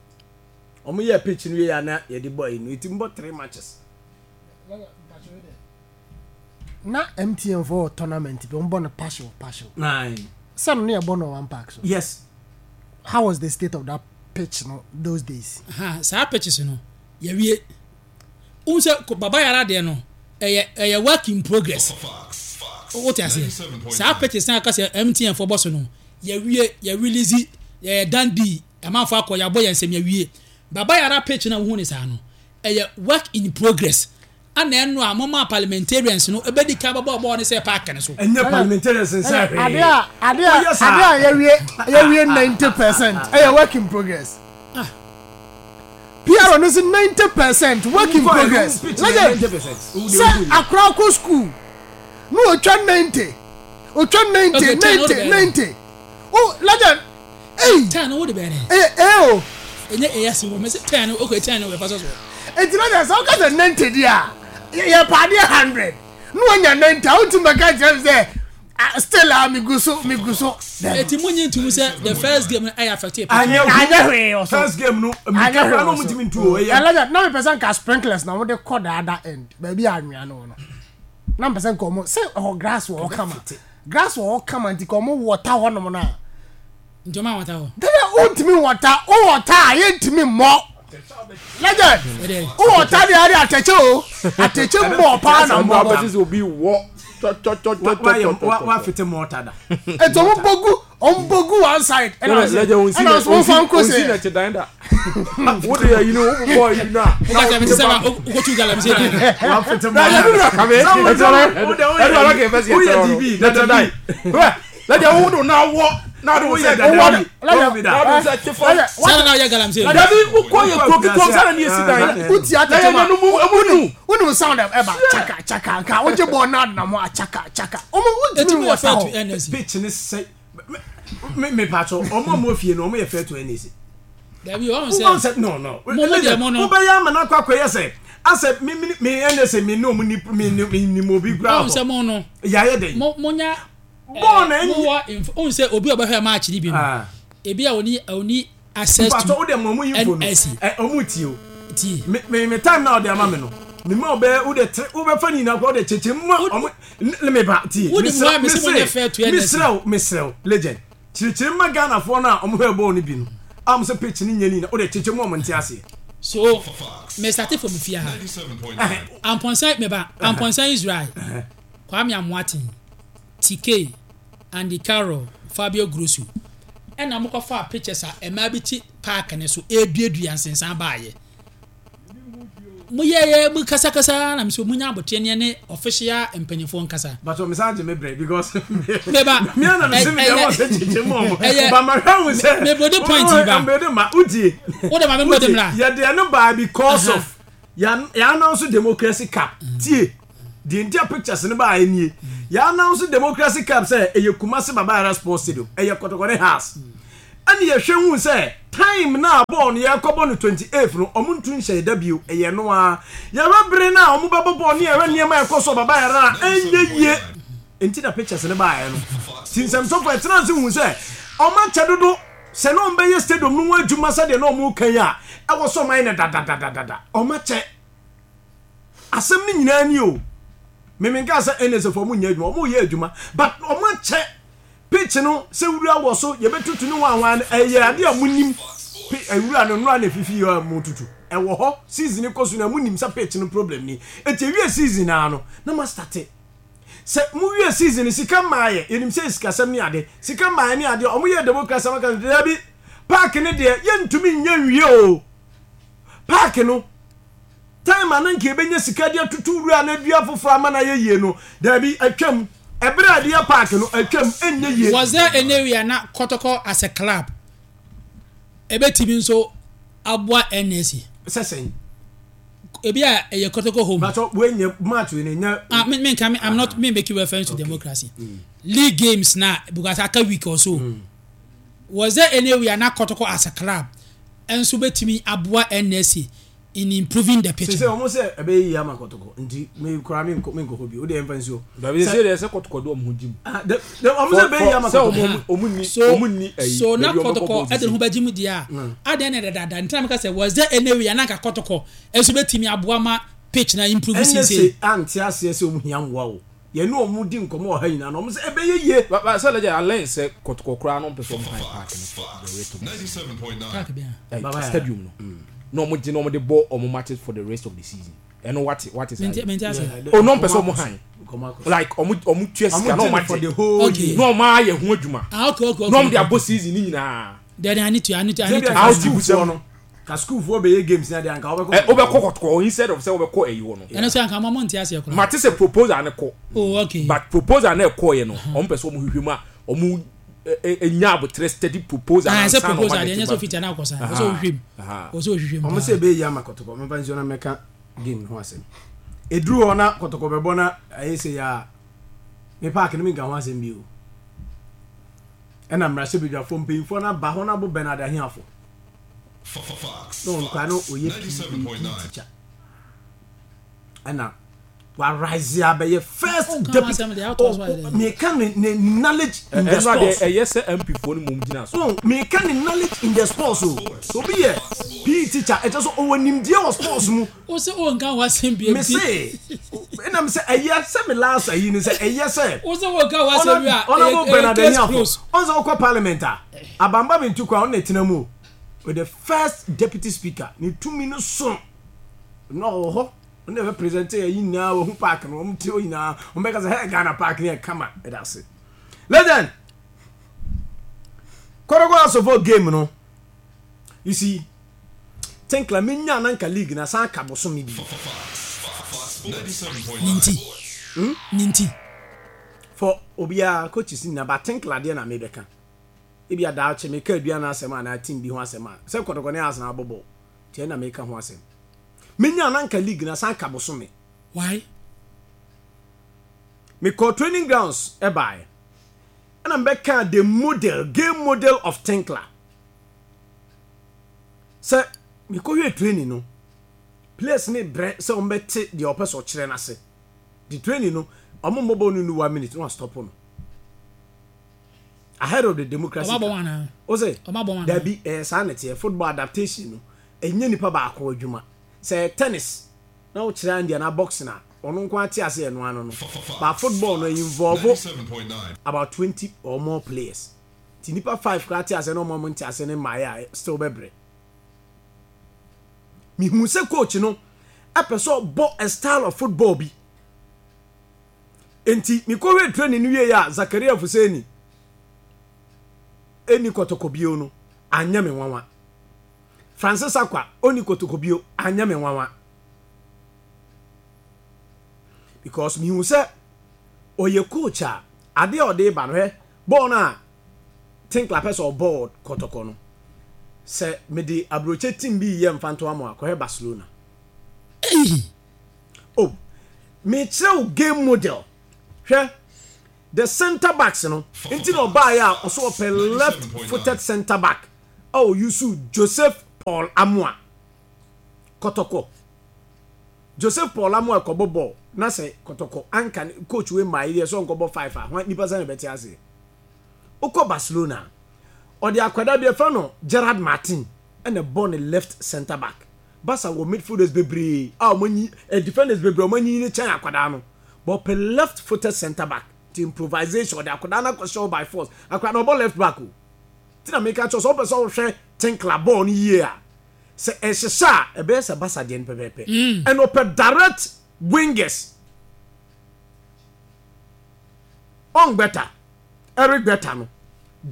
Wɔn yɛ pitch no yɛ na yɛde bɔ ɛyi no. Eti mbɔ three matches. Na MTN fo wɔ tournament bi wɔn bɔ no partial partial. Aye. Sɛ no ne yɛ bɔ no one park so. Yes. How was the state of that pitch no those days? Ha saa pitches no yɛwie. Wohu sɛ Baba Yara deɛ no ɛyɛ ɛyɛ work in progress. Wote aseɛ? Saa pitches na aka sɛ MTN fo bɔ so no yɛwie yɛ release yɛyɛ done deal amanfo akɔ yɛabɔ yɛn nsam yɛwie. Baba Yara pitch na wohu ne saa no ɛyɛ work in progress. Ana ɛno a momaa parliamentarians no bɛdi kan bɛbɔɔ bɔɔl no sɛɛ park no so? Ɛnyɛ parliamentarians nsɛ hwee. Adeɛ a adeɛ a Woyɛ saa. adeɛ a yɛwie yɛwie 90% ɛyɛ work in progress. Ah. PR no si 90% work in Wokɔ ɛ, progress. wo pitch no yɛ Legend 90%. Wo deɛ sɛ wohu ni. akora kɔ school na otwa 90 otwa 90 Okay, 10 wode 90 bɛyɛ dɛn? 90 oh legend ei 10 no wode bɛyɛ dɛn? ɛyɛ A o. Ɛnyɛ A ase wɔ mese 10 no okay 10 no ɛfa sɔ soɔ. Enti na kyerɛ sɛ woka sɛ 90 deɛ a, yɛpɛ adeɛ 100 na wanya 90 a, wontumi bɛka nkyerɛ me sɛ ah, still a megu so megu so. Dabi. Eti mo nyi ntum sɛ the first game no ɛyɛ affect yɛ pitch Anyɛ no. hu. Anyɛ hwee wɔ so. First game no, Anyɛ mmirika hwee koraa na wɔ so. wɔntumi ntu o. Ɛyɛ Ɛlɛgya, na mepɛ sɛ nka sprinklers na wɔde kɔ the other end, baabi a anwea no wɔ no. Na mepɛ sɛ nka wɔn, sɛ ɛhɔ grass wɔ hɔ kama. Ɛbɛfete. Grass wɔ hɔ kama nti ka wɔn wɔta hɔnom no a. Nti ɔmo anwata hɔ. Dada wontumi nwɔta, wowɔta a yɛntumi mmɔ. Legend, wowɔta deɛ ade atɛkyɛ o, atɛkyɛ mmɔ paa na mmɔ bɔ. Sɛ obi wɔ tɔtɔtɔtɔtɔtɔ. Wafete mɔta da. Nti ɔmo bɔ gu, ɔmo bɔ gu one side. Ɛna ɛna ɔmo fa nko sɛ. Onsi na ɛte dan da. Wo de ayi no, wo bɔ ayi no a. Woka sɛ mete sɛ wokɔtu galamsey dan. Wafete mɔta. Woyɛ DB, dada bi. Lẹ́jẹ̀ wo do náà wọ́ náà do sẹ́ Owó dada lẹ́jẹ̀ bi náà do sẹ́ ti fọ́. Sára náà yẹ galamsey. Dabi wokɔ yɛ kuro ketewa sára ni esi dan. Wotia tete Lẹ́yìn ma. ẹnu mu emu nu. Wonim sound ɛba chaka chaka nka wogye bɔɔl no adena mo a chaka chaka. Ɔmo Eti wontumi mo yɛ nwɔta fair to hɔ. NSC. Pitch ne sɛ me me patro ɔmo a mo fie no ɔmo yɛ fair to NAC. Dabi wɔn Wọ́n sɛ sɛ no no. Mo mo deɛ mo no. Wobɛyɛ ama no akɔ akɔyɛ sɛ asɛ me me me NSA me ne ɔmo ni me me nim obi kura wɔn sɛ mo no Yɛayɛ dɛ. mo mo nya Bɔɔl na mo ɛnyɛ. wɔ inf ohun sɛ obi a ɔbɛhwɛ match ni bi no Ah. ebi a oni oni access to Mpatro wo deɛ mo ɔmo info no. NSC Ɛ ɔmo tie o. tie. Me me me time na ɔde ama me no. Me ma ɔbɛ wo de tre wo bɛ fa nyinaa kɔ wo de kyekyɛ mu ma ɔmo ne me ba tie. Wo de mu a me sɛ mo nyɛ fair to NSC. Mesrɛ wo mesrɛ wo legend. Kyerɛkyerɛ mu ma Ghanafoɔ no a ɔmo hwɛ bɔɔl no bi no a ɔmo sɛ pitch no nyɛ ne nyinaa wo de kyekyɛ mu a ɔmo nte aseɛ. So me start from fie ha. Amponsah me ba Amponsah Israel Kwame Amoaten TK Andy Carroll Fabio Grosso ɛna ɔmo kɔ faa pictures a mmaa bi te park no so ɛreduadua nsensan baayɛ. Mo yɛyɛ mo kasakasa na mesɛ mo nya aboteɛ ne ne official mpanyinfoɔ nkasa. But ɔmo san gye me brɛ because meba me ana me se me deɛ wɔn sɛ kyekye mu ɔmo ba ma hwɛ ho sɛ me bode point yi ba mbɛde ma utie wo de ma me bode mra yɛ deɛ no baa because of yɛ announce democracy cup tie deɛ nti a pictures no baa nie yɛ announce democracy cup sɛ ɛyɛ Kumasi Baba Yara Sports Stadium ɛyɛ Kɔtɔkɔ ne Hearts. Ɛna yɛhwɛ huu sɛ time no a bɔɔl no yɛrekɔbɔ no 28th no, wɔn ntu nhyɛe da bio, ɛyɛ ɛno ara. Yɛhwɛ bere no a wɔbɛbɔ bɔɔl ne yɛhwɛ nneɛma a ɛkɔ so wɔ Baba Yara a, ɛnyɛ yie. Enti na pictures no baeɛ no. Nti nsɛmtwerɛfoɔ yɛtenaa ase huu sɛ wɔakyɛ dodo. Sɛ na wɔbɛyɛ stadium no ho adwuma sɛdeɛ na wɔreka yi a, ɛwɔ sɛ wɔayɛ no dadadadada. Wɔakyɛ. Asɛm no nyinaa ni o. Me menkaa sɛ NSA foɔ wɔnyɛ adwuma, wɔreyɛ adwuma but wɔakyɛ. Pitch no sɛ wura wɔ so yɛbɛtutu ne hwanhwan no ɛyɛ adeɛ a monim wura no nnora na ɛfifi a motutu ɛwɔ hɔ season kɔ so na monim sɛ pitch no problem ni ɛti ɛwie season naa no na ma starte sɛ mowie season no sika mmaayɛ yɛnim sɛ sikasɛm ne ade sika mmaayɛ ne adeɛ ɔmo yɛ democracy amaka no dabi park no deɛ yɛntumi nyɛ nwie o park no Time a na nka yɛbɛnya sika de atutu wura na adua foforɔ ama no ayɛ yie no, daabi, atwam. Ɛberɛ a yɛde yɛ park no, atwam, ɛnyɛ yie. Was there any way a na Kɔtɔkɔ as a club ɛbɛtumi nso aboa NSC? Sɛ sɛn? Ebi a ɛyɛ Kɔtɔkɔ home. Bàtɔ wei nyɛ match wei na nya. Ah, me me nka me I'm not me make reference to okay. democracy. League games na because aka week or so. Was there any way a na Kɔtɔkɔ as a club nso bɛtumi aboa NSC in improving the pitch. Sese wɔn sɛ ɛbɛyɛ yie ama kɔtɔkɔ nti mi kura mi nkɔ mi nkɔ hɔ bi o de yɛn fa nsuo. Dabi sese deɛ sɛ kɔtɔkɔ de wɔn ho gyi mu. Ah de de wɔn sɛ ɛbɛyɛ yie ama kɔtɔkɔ. Sɛ wɔn ni wɔn ni ɛyi. So na kɔtɔkɔ ɛde ne ho bɛgye mu deɛ a adeɛ na ɛdadaada ntina mi ka sɛ was there any way ananka kɔtɔkɔ ɛnso bɛtumi aboa ma pitch na improve sese. Ɛnɛ se ante aseɛ sɛ wɔn hia mmoa o. Yɛne wɔn di nkɔmmɔ wɔ ha nyinaa no, wɔn sɛ ɛbɛyɛ yie. Ba ba sɛ lɛgya alɛn sɛ kɔtɔkɔ koraa no mpɛ sɛ wɔn han park no for the rest of the season. Park bɛn a? Ɛɛ stadium no na wɔn gye na wɔn de bɔ wɔn matches for the rest of the season. Ɛno wate wate saa yi. Mente ase. Oh no mpɛ sɛ wɔn han like wɔn wɔn tua sika na wɔn agye na wɔn ayɛ ho adwuma Ah okay okay okay. na wɔn de abɔ season ne nyinaa. Then I need to I need to I need to. How to busɛm no. Ka sukuufoɔ bɛyɛ games na deɛ anka wobɛkɔ. Ɛ wobɛkɔ kɔtɔkɔ instead of sɛ wobɛkɔ ɛyi hɔ no. Ɛno sɛ anka mo nte aseɛ koraa. Mate sɛ proposal no kɔ. Oh okay. But proposal no ɛkɔɔyɛ no wɔn pɛ sɛ wɔn hwehwɛ mu a wɔn nya abotrɛ steady proposal. Ah sɛ proposal deɛ ɛnyɛ sɛ ofiti anaa ɔkɔ saa ɔsɛ ɔhwehwɛ mu ɔsɛ ɔhwehwɛ mu. Wɔn sɛ ɛbɛyɛ yie ama kɔtɔkɔ mɛfa nsuo na mɛka game ho asɛm. Ɛduru hɔ na kɔtɔkɔ bɛbɔ na ayɛ sɛ yɛ a me park no menka ho asɛm bio. Ɛna mmarahyɛbadwafoɔ mpanyinfoɔ no aba hɔ no abo Bernard Ahiafo. Na ɔno koraa na ɔyɛ PE teacher ɛna wa rise abɛyɛ first oh, deputy oh, meka ne ne knowledge in the sports ɛyɛ sɛ MP foɔ no mom gyina so oh, meka ne knowledge in the sports o so obi yɛ PE teacher ɛkyɛ so ɔwɔ nimdeɛ wɔ sports mu o sɛ o nka ho asɛm bi me se ɛnam sɛ ɛyɛ sɛ me last ayi ne sɛ ɛyɛ sɛ o sɛ o nka ho asɛm bi a Honorable Bernard Ahiafo ɔn sɛ wokɔ parliament a Abamba Bintu koraa ɔno na ɛtena mu o with the first deputy speaker ne tumi no so na ɔwɔ hɔ ɔno na ɛbɛ present yɛ yi nyinaa wɔhu park no wɔn ti hɔ nyinaa wɔn bɛka sɛ hey Ghana park no yɛ kama ɛda ase legend kɔdɔkɔ asɔfo game no you see tinkla mi nya nanka league na san ka bosome bi ne nti ne nti for obiara coaches nyinaa ba tinkla deɛ na mebɛka Ebia daakye meka aduan asɛm anaa team bi ho asɛm a, sɛ Kɔtɔkɔ ne Arsenal abɔ bɔɔl nti ɛna meka ho asɛm. Menya na anka league no asan ka bosome. Why? Mekɔɔ training grounds baeɛ ɛna mebɛkaa the model, game model of Tinkler. Sɛ mekɔhwɛɛ training no, players no brɛ sɛ wɔbɛte deɛ ɔpɛ sɛ ɔkyerɛ no ase. The training no, wɔn mmɔ bɔɔl no nnu one minute na wɔastɔpo no. Ahead of the democracy. Ɔma bɔ wɔn anaa? O se. Ɔma bɔ wɔn anaa? Dabi, ɛyɛ saa na ɛteɛ. Football adaptation no, ɛnyɛ nipa baako adwuma. Sɛ ɛyɛ tennis na wokyerɛ Andy anaa boxing a, ɔno nko ara te ase ɛno ano no. But football no, involve about 20 or more players. Nti nipa five koraa te ase na ɔmo a ɔmo nte ase no mmaeɛ a, still bɛbrɛ. Mehu sɛ coach no ɛpɛ sɛ ɔbɔ a style of football bi. Enti mekɔhwɛɛ training no wieeɛ a Zakaria Fuseni ɛnni kɔtɔkɔ bio no, anyɛ me nwanwa. Francis Akwa ɔnni kɔtɔkɔ bio, anyɛ me nwanwa. Because mehu sɛ ɔyɛ coach a adeɛ a ɔde ba no hwɛ bɔɔl no a Tinkler pɛ sɛ ɔbɔ wɔ Kɔtɔkɔ no sɛ mede aburokye team bi yɛ mfantoa mo a kɔhwɛ Barcelona. Ei! Oh, mekyerɛ wo game model. Hwɛ the centre backs no nti na ɔbaeɛ a ɔso ɔpɛ left footed centre back a ɔyusu Joseph Paul Amoah. Kɔtɔkɔ. Joseph Paul Amoah kɔbɔ bɔɔl na sɛ Kɔtɔkɔ anka ne coach wei mmaeɛ deɛ sɛ ɔnkɔbɔ five a hwan nipa sɛn na ɛbɛte aseɛ. Wokɔ Barcelona a ɔde akwadaa bi ɛfrɛ no Gerard Martin ɛna ɛbɔ ne left centre back. Barca wɔ midfielders bebree a wɔn anyi eh, defenders bebree a wɔn anyini kyɛn akwadaa no but ɔpɛ left footed centre back nti improvisation ɔde akwadaa no akɔhyɛ hɔ by force akwadaa no ɔbɔ left back o ti na meka kyerɛ sɛ ɔpɛ sɛ ɔhwɛ Tinkler bɔɔl no yie a sɛ ɛhyehyɛ a ɛbɛyɛ sɛ Barca deɛ no pɛpɛɛpɛ ɛna ɔpɛ direct wingers ɔngbɛta Eric Berta no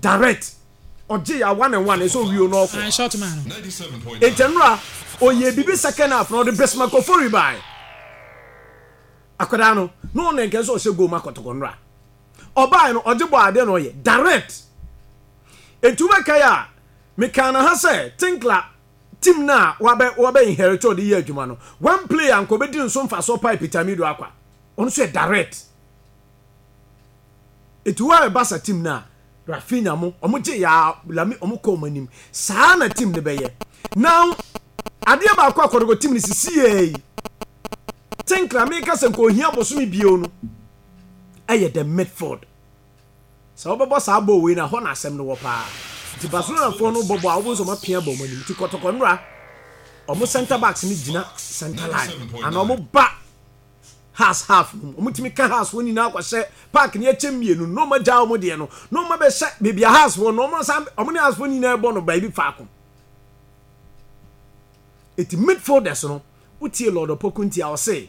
direct ɔgye ya one and one ɛsɛ owie no ɔkɔ. Ah, short man no. Nti nnora ɔyɛ biribi second half na ɔde Bismarck Ofori bae. Akwadaa no na ɔno nkɛ sɛ ɔhyɛ goal ma kɔtɔkɔ nnora. Ɔbae no ɔgye bɔ adeɛ na ɔyɛ direct. Nti wobɛkae a mekaa no ha sɛ Tinkler team no a wabɛ wabɛ inherit ɔde yɛ adwuma no one player nka ɔbɛdi ne so mfasoɔ paa Peter Amidu Akwa. Ɔno nso yɛ direct. Eti wo a Barca team no a Raphinha mo ɔmo gye yaa Lami ɔmo kɔ ɔmo anim saa na team no bɛyɛ now adeɛ baako a kɔtɔkɔ team no sisi yɛ yi Tinkler meka sɛ nka ohia bosome bio no ɛyɛ the midfield sɛ wobɛbɔ saa bɔɔl wei na hɔ na asɛm no wɔ paa nti Barcelona foɔ no bɔbɔ a wobɛhu sɛ ɔmo apia bɔ ɔmo anim nti kɔtɔkɔ nnora ɔmo center backs no gyina center line ana ɔmo ba Hearts half no mu. Wɔtumi ka Hearts foɔ nyinaa kɔhyɛ park no yɛkyɛ mmienu no na wɔn agyaa wɔn deɛ no na wɔn abɛhyɛ baabi a Hearts foɔ no wɔn san wɔn ne Hearts foɔ nyinaa bɔ no baabi faako. Eti midfielders no wotie Lord Opoku nti a ɔse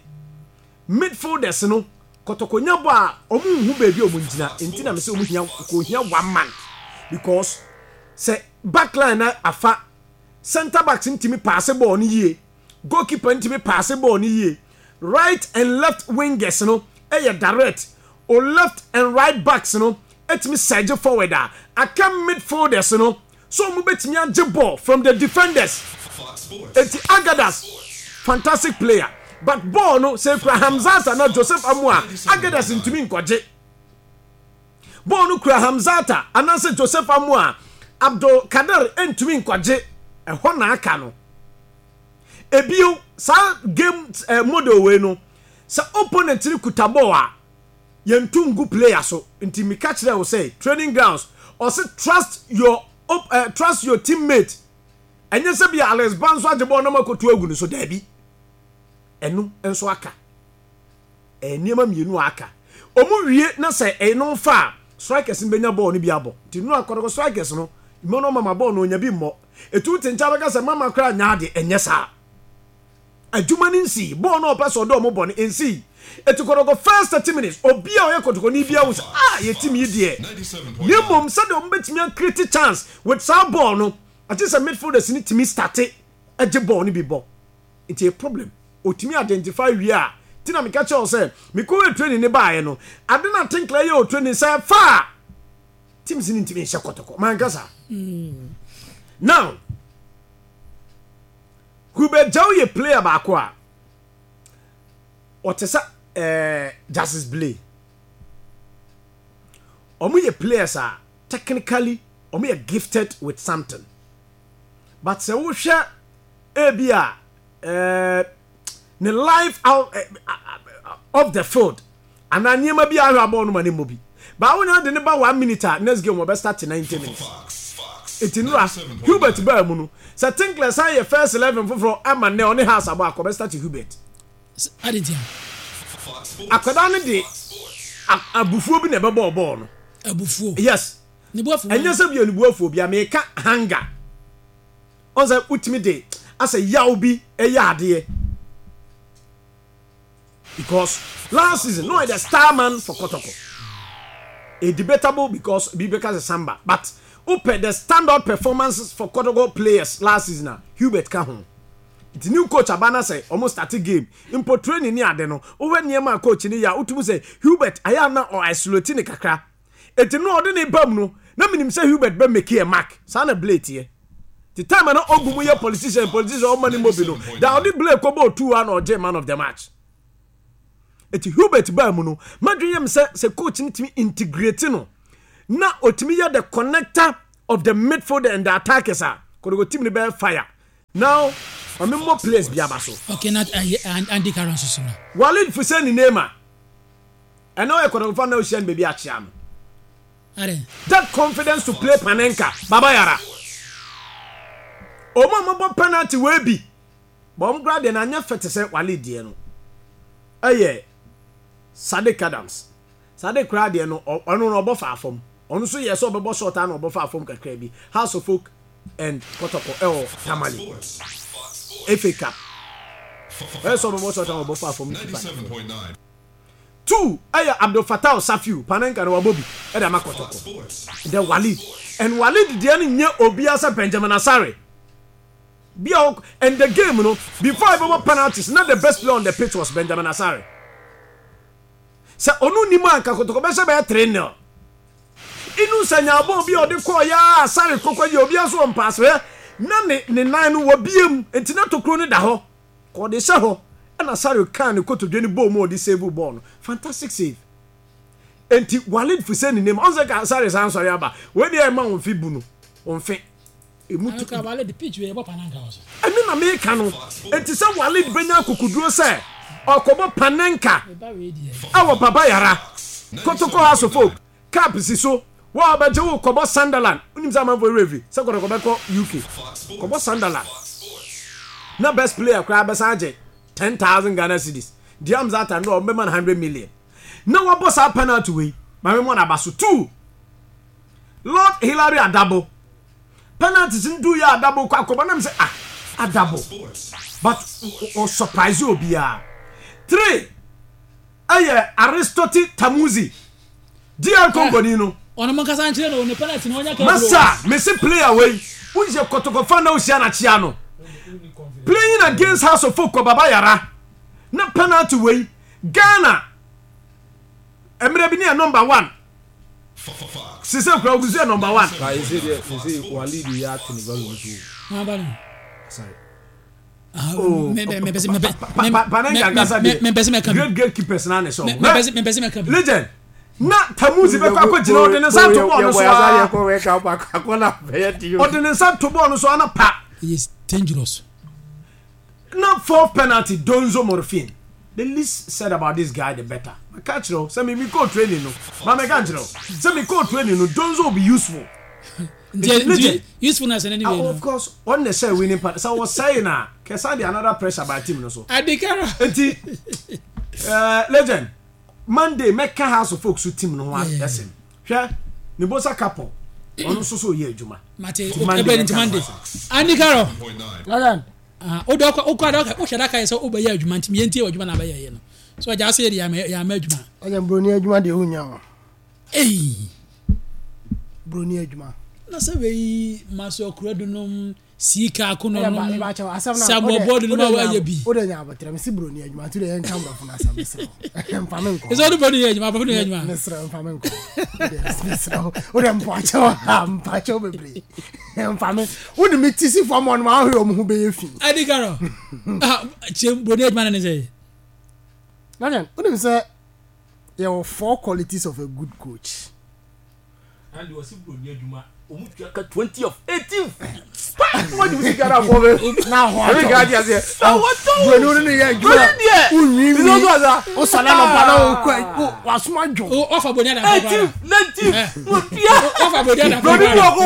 midfielders no kɔtɔkɔnya bɔ a wɔn nhu baabi a wɔn gyina nti na mesɛ wɔn hia kò hia one month because sɛ backline na afa centre backs ntumi paase bɔɔl no yie goalkeeper ntumi paase bɔɔl no yie Right and left wingers no yɛ direct, o left and right backs no tumi surge forward a, aka midfielders no sɛ wɔn bɛtumi agye ball from the defenders. Enti Agadas, fantastic player, but ball no sɛ ekura Hamzat anaa Joseph Amoah a, Agadas ntumi nkɔgye. Ball no kura Hamzata anaasɛ Joseph Amoah a, Abdul Kadir ntumi nkɔgye. Ɛhɔ na aka no. Ebio, saa game eh, model wei no, sɛ opponent no kuta ball a, yɛntu ngu player so. Nti meka kyerɛ wo sɛ, training grounds, ɔse trust your, eh, trust your teammate. Ɛnyɛ sɛ bi Alex Ba nso agye ball na moakɔtu agu no so, daabi. Ɛno nso aka. Ɛyɛ nneɛma mmienu a aka. Wɔn wie na sɛ ɛno fa a, strikers no bɛnya ball no bi abɔ. Nti no akɔdɔkɔ strikers no, Emmanuel Mama ball no ɔnya bi mmɔ. Etu te nkyɛn bɛka sɛ mama koraa nyɛ ade, ɛnyɛ saa. Adwuma no nsii, bɔɔl no a ɔpɛ sɛ ɔde wɔn bɔ no nsii. Eti kɔtɔkɔ first 30 minutes, obi a ɔyɛ kɔtɔkɔni biara hu sɛ ah yɛ team yi deɛ. Na mmom sɛdeɛ wɔn bɛtumi a create chance with saa bɔɔl no, agye sɛ midfielders no tumi starte gye bɔɔl no bi bɔ. Nti ɛyɛ problem. Otumi identify wie a, ti na meka kyerɛ wo sɛ mekɔyɛ training no baeɛ no, ade no a Tinkler yɛ wɔ training sɛ ɛfa a, teams no ntumi nhyɛ kɔtɔkɔ manka saa now Hubert Gyau yɛ player baako a ɔte sɛ ɛɛ eh, Justice Blay wɔn yɛ players a technically wɔn yɛ gifted with something but sɛ wohwɛ ebi a ɛɛ eh, ne life out eh, off the field anaa nneɛma bi a ahwɛ abɔɔ no ma ne mmɔ bi. Baa wonya de ne ba one minute a next game wɔbɛ start 90 minutes. Eti nora Hubert baa mu no sɛ Tinkler san yɛ first 11 foforɔ ama nnɛ ɔne Hearts abɔ akɔ bɛ start Hubert. Akwadaa no de abufuo bi na ɛbɛbɔɔ bɔɔl no. Abufuo? Yes. Ɛnyɛ sɛ bi a ne bu afuo bi a meka hunger. Ɔn sɛ wotumi de asɛ yaw bi ɛyɛ adeɛ. Because last season no ɔyɛ the star man for Kotoko. A debatable because bi bɛka sɛ Samba but wopɛ the standout performances for Kotoko players last season a Hubert ka ho. Nti new coach aba na sɛ ɔmo start game mpo training ne ade no wohwɛ nneɛma a coach no yɛ a wotumi sɛ Hubert ayɛ a na ɔ isolate ne kakra. Enti no ɔde ne ba mu no na menim sɛ Hubert bɛ make a mark. Saa na Blay teɛ. Nti time a na Ogum yɛ politician politician ɔmma ne mmɔ bi no da ɔde Blay kɔbɔɔ two a na ɔgyee man of the match. Eti Hubert baa mu no madwene yɛ me sɛ sɛ coach no tumi integrate no na otumi yɛ the connector of the midfield and the attackers a Kotoko team no bɛyɛ fire. Now ma me mmɔ players bi aba so. Okay na ayi Andy Carroll nso so no. Walid Fuseni Neymar ɛnɛ ɔyɛ Kotoko fan na ohyia no baabi akyea no. Adɛn? That confidence to play Panenka Baba Yara. Ɔmo a mɔbɔ penalty wei bi but ɔmo koraa deɛ no anyɛ fɛ te sɛ Walid deɛ no. Ɛyɛ Sadiq Adams. Sadiq koraa deɛ no ɔno no ɔbɔ faa fam. Ɔno nso yɛɛ sɛ ɔbɛbɔ shot a na ɔbɔ faa fam kakra bi. House of Folk and Kɔtɔkɔ ɛwɔ Tamale. FA Cup. Ɔyɛ sɛ ɔbɛbɔ shot a na ɔbɔ faa fam no keeper no fam. Two ɛyɛ Abdul Fatah Safiu, Panenka no wabɔ bi ɛde ama Kɔtɔkɔ. The Walid. And Walid deɛ no nyɛ obiara sɛ Benjamin Asare. Bi a and the game no before ɛbɛbɔ penalties na the best player on the pitch was Benjamin Asare. Sɛ ɔno nni mu a anka Kotoko bɛhyɛ bɛyɛ 3 nil. Inusa nyaa bɔɔl bi a ɔde kɔɔ yɛ a Asare kɔkɔ yɛ obiara nso wɔ mpaase hwɛ na ne ne nan no wɔbie mu nti na tokuro no da hɔ kɔ ɔde hyɛ hɔ ɛna Asare kaa ne kotodwe no bɔɔ mu a ɔde save bɔɔl no fantastic save nti Walid Fuseni nim ɔn sɛ ka Asare san sɔre aba wei deɛ ɛma wɔn fi bu no wɔn fe. Emu tu. Anka Walid pitch wei yɛbɔ panenka wɔ so. Ɛno na meka no. Enti sɛ Walid bɛnya akokoduro sɛ ɔrekɔbɔ panenka wɔ Baba Yara, Kotoko House of Folk, Cup si so, wo a wobɛgye wo kɔbɔ Sunderland, wonim sɛ amanfoɔ werɛ afi sɛ Kotoko bɛkɔ UK, kɔbɔ Sunderland na best player koraa bɛsan agye 10,000 Ghana cedis, Diam Zata no wɔbɛma no 100 million na wabɔ saa penalty wei, maame mmɔ no aba so. Two, Lord Hilary Adabo penalties no duu yɛ Adabo kɔ akɔbɔ nam sɛ ah Adabo but o surprise obiara. 3 ɛyɛ Aristote Tamuzi DR Congo ni no. Ɔno mo nkasa nkyerɛ no ne penalty no ɔnya ka Masa mese player wei woyɛ kɔtɔkɔfa na wohyia no akyea no playing against House of Folk kɔ Baba Yara na penalty wei Ghana mmerɛ bi ne yɛ number one Sese kura ogu so yɛ number one. Ba ese deɛ sese Walid yɛ ate ne value no so o. Wɔn value. Asare. Oh, Panenka ankasa deɛ great great keepers na ne sɛ ɔmo. Legend na Tamuzi bɛkɔ akɔgyina ɔde ne nsa to bɔɔl no so aa ɔde ne nsa to bɔɔl no so ana pa. Yes, dangerous. Na fourth penalty Donzo Morphine the least said about this guy the better maka kyerɛ wo sɛ me me kɔɔ training no ma mɛka nkyerɛ wo sɛ me kɔɔ training no Donzo will be useful nti nti useful na sɛ n'ani wei no of course ɔn na ɛsɛ winning part sɛ wɔsɛe na kɛsan de another pressure by team no so adekara nti uh, legend Monday mɛka House of Folk so team no ho asɛm hwɛ ne bosa couple ɔno nso so ɔyɛ adwuma mate ɛbɛn nti Monday Andy Carroll Ah, wode ɔkɔ wokɔ ada wohyɛ da ka yɛ sɛ wobɛyɛ adwuma nti yɛntie w'adwuma na abɛyɛ yɛ no so agya ase yɛ de yɛama adwuma. Ɔnyɛ broni adwuma deɛ wonya o. Ei. Broni adwuma. Na sɛ wei maso akura du nom sika akono nom Samuel Boadu nom a wɔayɛ bi. Wode nya abotrɛ mesi broni adwuma nti de yɛnka mbrɔfo no asɛm mesrɛ wo mfa me nkɔ. Ɛsɛ wode broni yɛ adwuma abrɔfo no yɛ adwuma. Mesrɛ mfa me nkɔ. Mesrɛ wo wode mpakyɛw mpakyɛw bebree. Mfa me wo de me ti si fam ɔnom ahwɛ wɔn ho bɛyɛ fi. Adi karo ah kyɛ broni adwuma na ne sɛ. London wonim sɛ yɛwɔ four qualities of a good coach. And wɔsi broni adwuma wɔn tua ka 20 of 18 na ho atɔ broni wo ne yɛ adwuma wonwiinwii wosɔre anɔpa na wokɔ wasoma dwo ɔfa broni adamfo koraa ɔfa broni adamfo broni bi ɔkɔ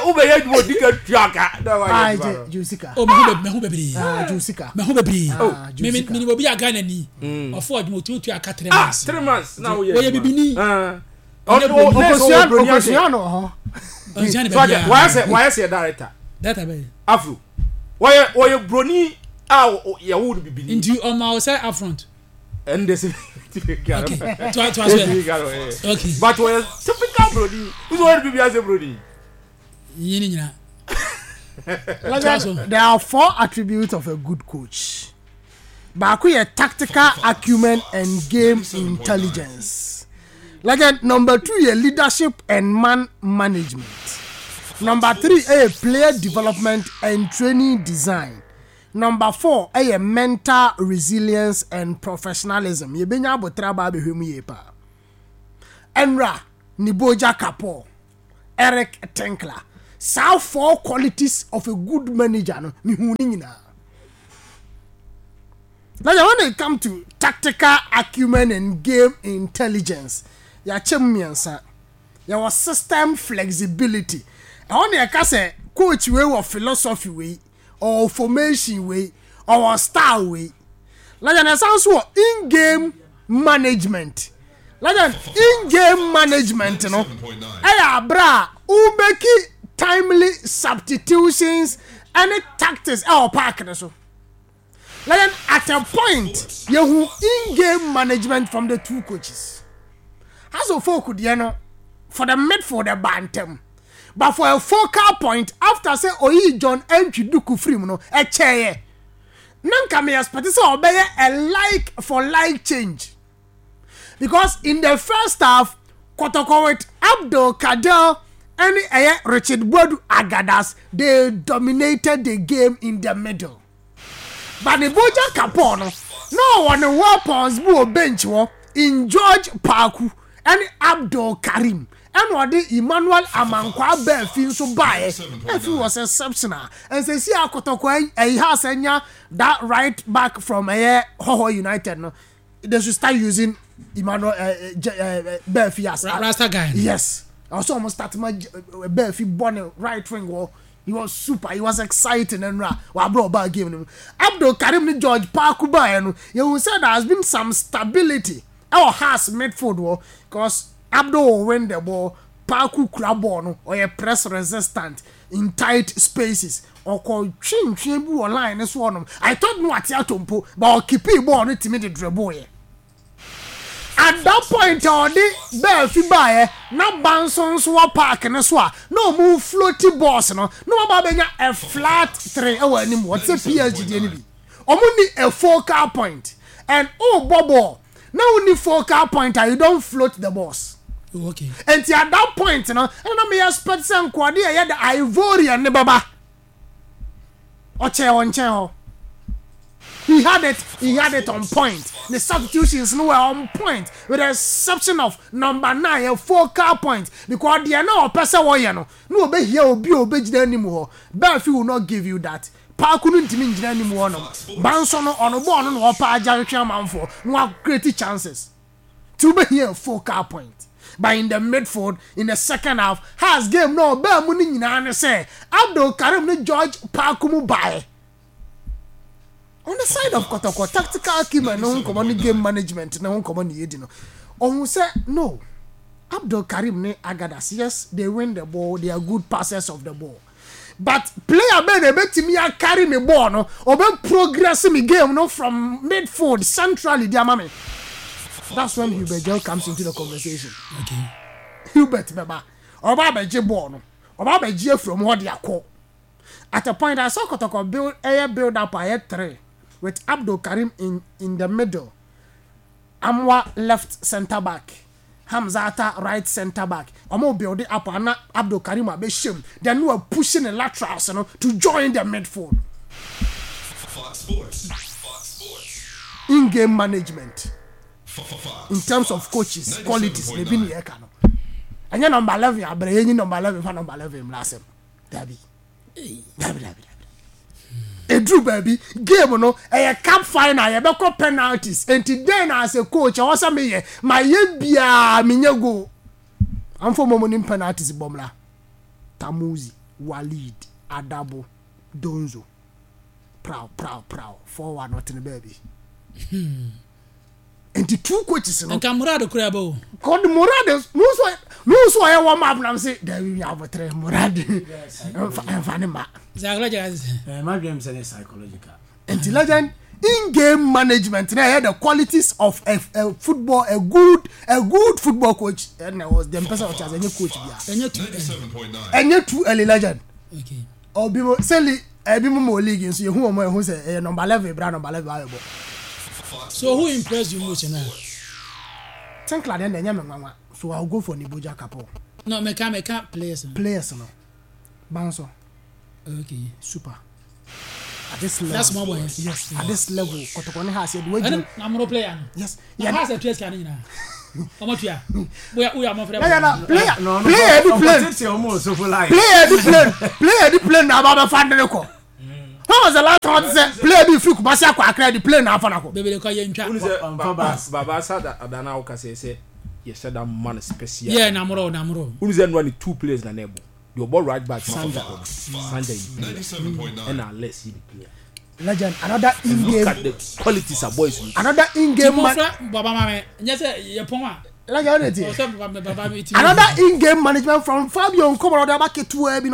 wobɛyɛ adwuma odi ka tua ka na wayɛ adwuma no gye sika o mehu mehu bebree gye sika mehu bebree me me me obi a Ghana ni ɔfo adwuma otumi tua ka 3 months 3 months na woyɛ wɔyɛ bibini Ɔkosua no hɔ. Wayɛ sɛ director. Director bɛyɛ. Afro. Wɔyɛ wɔyɛ broni a yɛwo no bibini. Nti ɔma wo sɛ afront. Ɛnde sɛ. Okay. To to aso yɛ. Okay. But wɔyɛ typical broni. Wosɛ wɔyɛ bibi asɛ broni. Yini nyina. Legend, there are four attributes of a good coach. Baako yɛ tactical acumen and game intelligence. Legend, number two yɛ leadership and man management. Number three yɛ player development and training design. Number four yɛ mental resilience and professionalism. Yɛbɛnya aboterɛ aba abɛhwɛ mu yie paa. Ɛnra, Niboja Kapoor. Eric Tinkler. Saa four qualities of a good manager no, mehu ne nyinaa. Now, when it come to tactical acumen and game intelligence, yɛakyɛ mu mmiɛnsa. Yɛwɔ system flexibility. Ɛhɔ na yɛka sɛ coach wei wɔ philosophy wei, ɔwɔ formation wei, ɔwɔ style wei. Legend ɛsan nso wɔ in-game management. Legend in-game management no ɛyɛ abere a wobɛki timely substitutions ɛne tactics ɛwɔ park no so. Legend at a point yɛhu in-game management from the two coaches. House of Folk deɛ no for the midfield ɛbaa ntɛm but for a focal point after sɛ oyii John Antwi Duku firi mu no ɛkyɛeɛ. Na nka me expect sɛ ɔbɛyɛ a like for like change because in the first half Kotoko with Abdul Kader ɛne ɛyɛ Richard Boadu Agadas they dominated the game in the middle but ne Boja Kapoor no na ɔwɔ ne weapons bi wɔ bench hɔ in George Paku ɛne Abdul Karim ɛna ɔde Emmanuel Amankwaa Baafi nso baeɛ. Baafi was exceptional. And sɛsi a Kotoko ɛyi has anya that right back from ɛyɛ Hohoe United no, they should start using Emmanuel Baafi as Rasta guy. Yes. Ɔsɛ ɔmo start ma Baafi bɔ ne right wing wɔ. He was super. He was exciting ɛnura wabere ɔbaa game no mu. Abdul Karim ne George Paku baeɛ no, yɛhu sɛ there has been some stability ɛwɔ Hearts midfield hɔ because Abdul will win the ball, Paku kura ball no, ɔyɛ press resistant in tight spaces, ɔkɔ twe ntwea bi wɔ line no so hɔnom, I thought no ate atɔ mpo, but ɔkeepii ball no tumi de dribble yɛ. At that point a ɔde Baafi baeɛ na Banso nso wɔ park no so a na ɔmo floati balls no, na wɔn aba abɛnya a flat three ɛwɔ anim hɔ, te sɛ PSG deɛ no bi. Ɔmo nni a focal point and wobɔ ball na wonni focal point a you don't float the balls. Oh, okay. Nti at that point no, ɛna na me expect sɛ nkoade a ɛyɛ the Ivorian ne bɛba. Ɔkyɛɛ wɔn nkyɛn hɔ. He had it, he had it on point. The substitutions no were on point with the exception of number nine, a focal point. Because deɛ na ɔpɛ sɛ wɔyɛ no, na ɔbɛhia obi a ɔbɛgyina anim hɔ. Baafi will not give you that. Paako no ntumi ngyina anim hɔ nom. Banso no ɔno bɔɔl no na ɔpɛ agya twetwe amanfoɔ na wa create chances. Nti wobɛhia a focal point. But in the midfield, in the second half, Hearts game no a ɔbaa mu no nyinaa ne sɛ Abdul Karim ne George Paako mu baeɛ. On the side of Kɔtɔkɔ, tactical acumen no ho nkɔmmɔ ne game management no ho nkɔmmɔ na yɛdi no. Ɔhu sɛ no, Abdul Karim ne Agadas, yes, they win the ball, they are good passers of the ball. But player bɛn na ebetumi a carry me ball no, ɔbɛ progress me game no from midfield centrally de ama me. That's when Hubert Gyau comes into the conversation. Okay. Hubert bɛba, ɔba abɛgye ball no, ɔba abɛgye afiri ɔmo hɔ de akɔ. At a point, I saw Kotoko build ɛyɛ build up ayɛ three with Abdul Karim in in the middle. Amoah left centre back, Hamzata right centre back, wɔn build up a na Abdul Karim abɛhyɛ mu, then na wa push ne laterals no to join the midfield. In game management in terms of coaches qualities na ebi ne yɛka no, ɛnyɛ number 11 abrɛ yɛnyi number 11 fa number 11 mmra asɛm, dabi. Dabi dabi dabi. Eduru baabi game no ɛyɛ cup final yɛbɛkɔ penalties nti dɛn na as a coach ɛwɔ sɛ meyɛ mayɛ biara menyɛ goal. Amfo mo nim penalties bɔ mmra. Tamuzi, Walid, Adabo, Donzo. Praw praw praw 4-1 ɔtene baabi. Nti two coaches no. Nka Murad kura bɛ o. Kɔd Murad mi nso ɔyɛ warm up na mi se dabi mi abotire Murad nfa ne ma. Psychological. Ɛɛ ma dwem sɛ ne psychological. Nti legend in game management na ɛyɛ the qualities of a football a good a good football coach ɛna was the mpɛsɛ ɔkyɛ ase ɛnyɛ coach bia. Ɛnyɛ too early. Ɛnyɛ too early legend. Okay. Obi mo sɛ ebi mo mo league nso yehu wɔn ehu sɛ ɛyɛ number 11 bra number 11 ayɛ bɔ. So who impressed you most na? Tinkler deɛ na ɛnyɛ me nwanwa, so I will go for Niboja Kapo. No, meka players no. Players no. Banso. Okay. Super. At this level. That's small boy. Yes, at this level. Kotoko ne has yɛ de wagye. Na mo player no. Yes. Na has a tuya sika ne nyinaa. Ɔmo tuya. Boya uya mo frɛ. Na na player player di plane. Player di plane. Player di plane na aba bɛ fa ne kɔ. When was the last time sɛ player bi firi Kumasi akɔ Accra di plane na afa na kɔ? Bebele kɔ yɛ ntwa. Baba sa adana wo kasa sɛ yɛ hyɛ da man special. Yeah, na moro na moro. Wonu sɛ nua ne two players na na ɛbɔ. The ɔbɔ right back Sanja. Sanja is player. Ɛna Alex yi player. Legend, another in game. Look at the qualities of boys. Another in game man. Baba mame, nyɛ sɛ yɛ pɔn a. Legend, another in game management from Fabio Nkomo ɔde aba ketewa bi.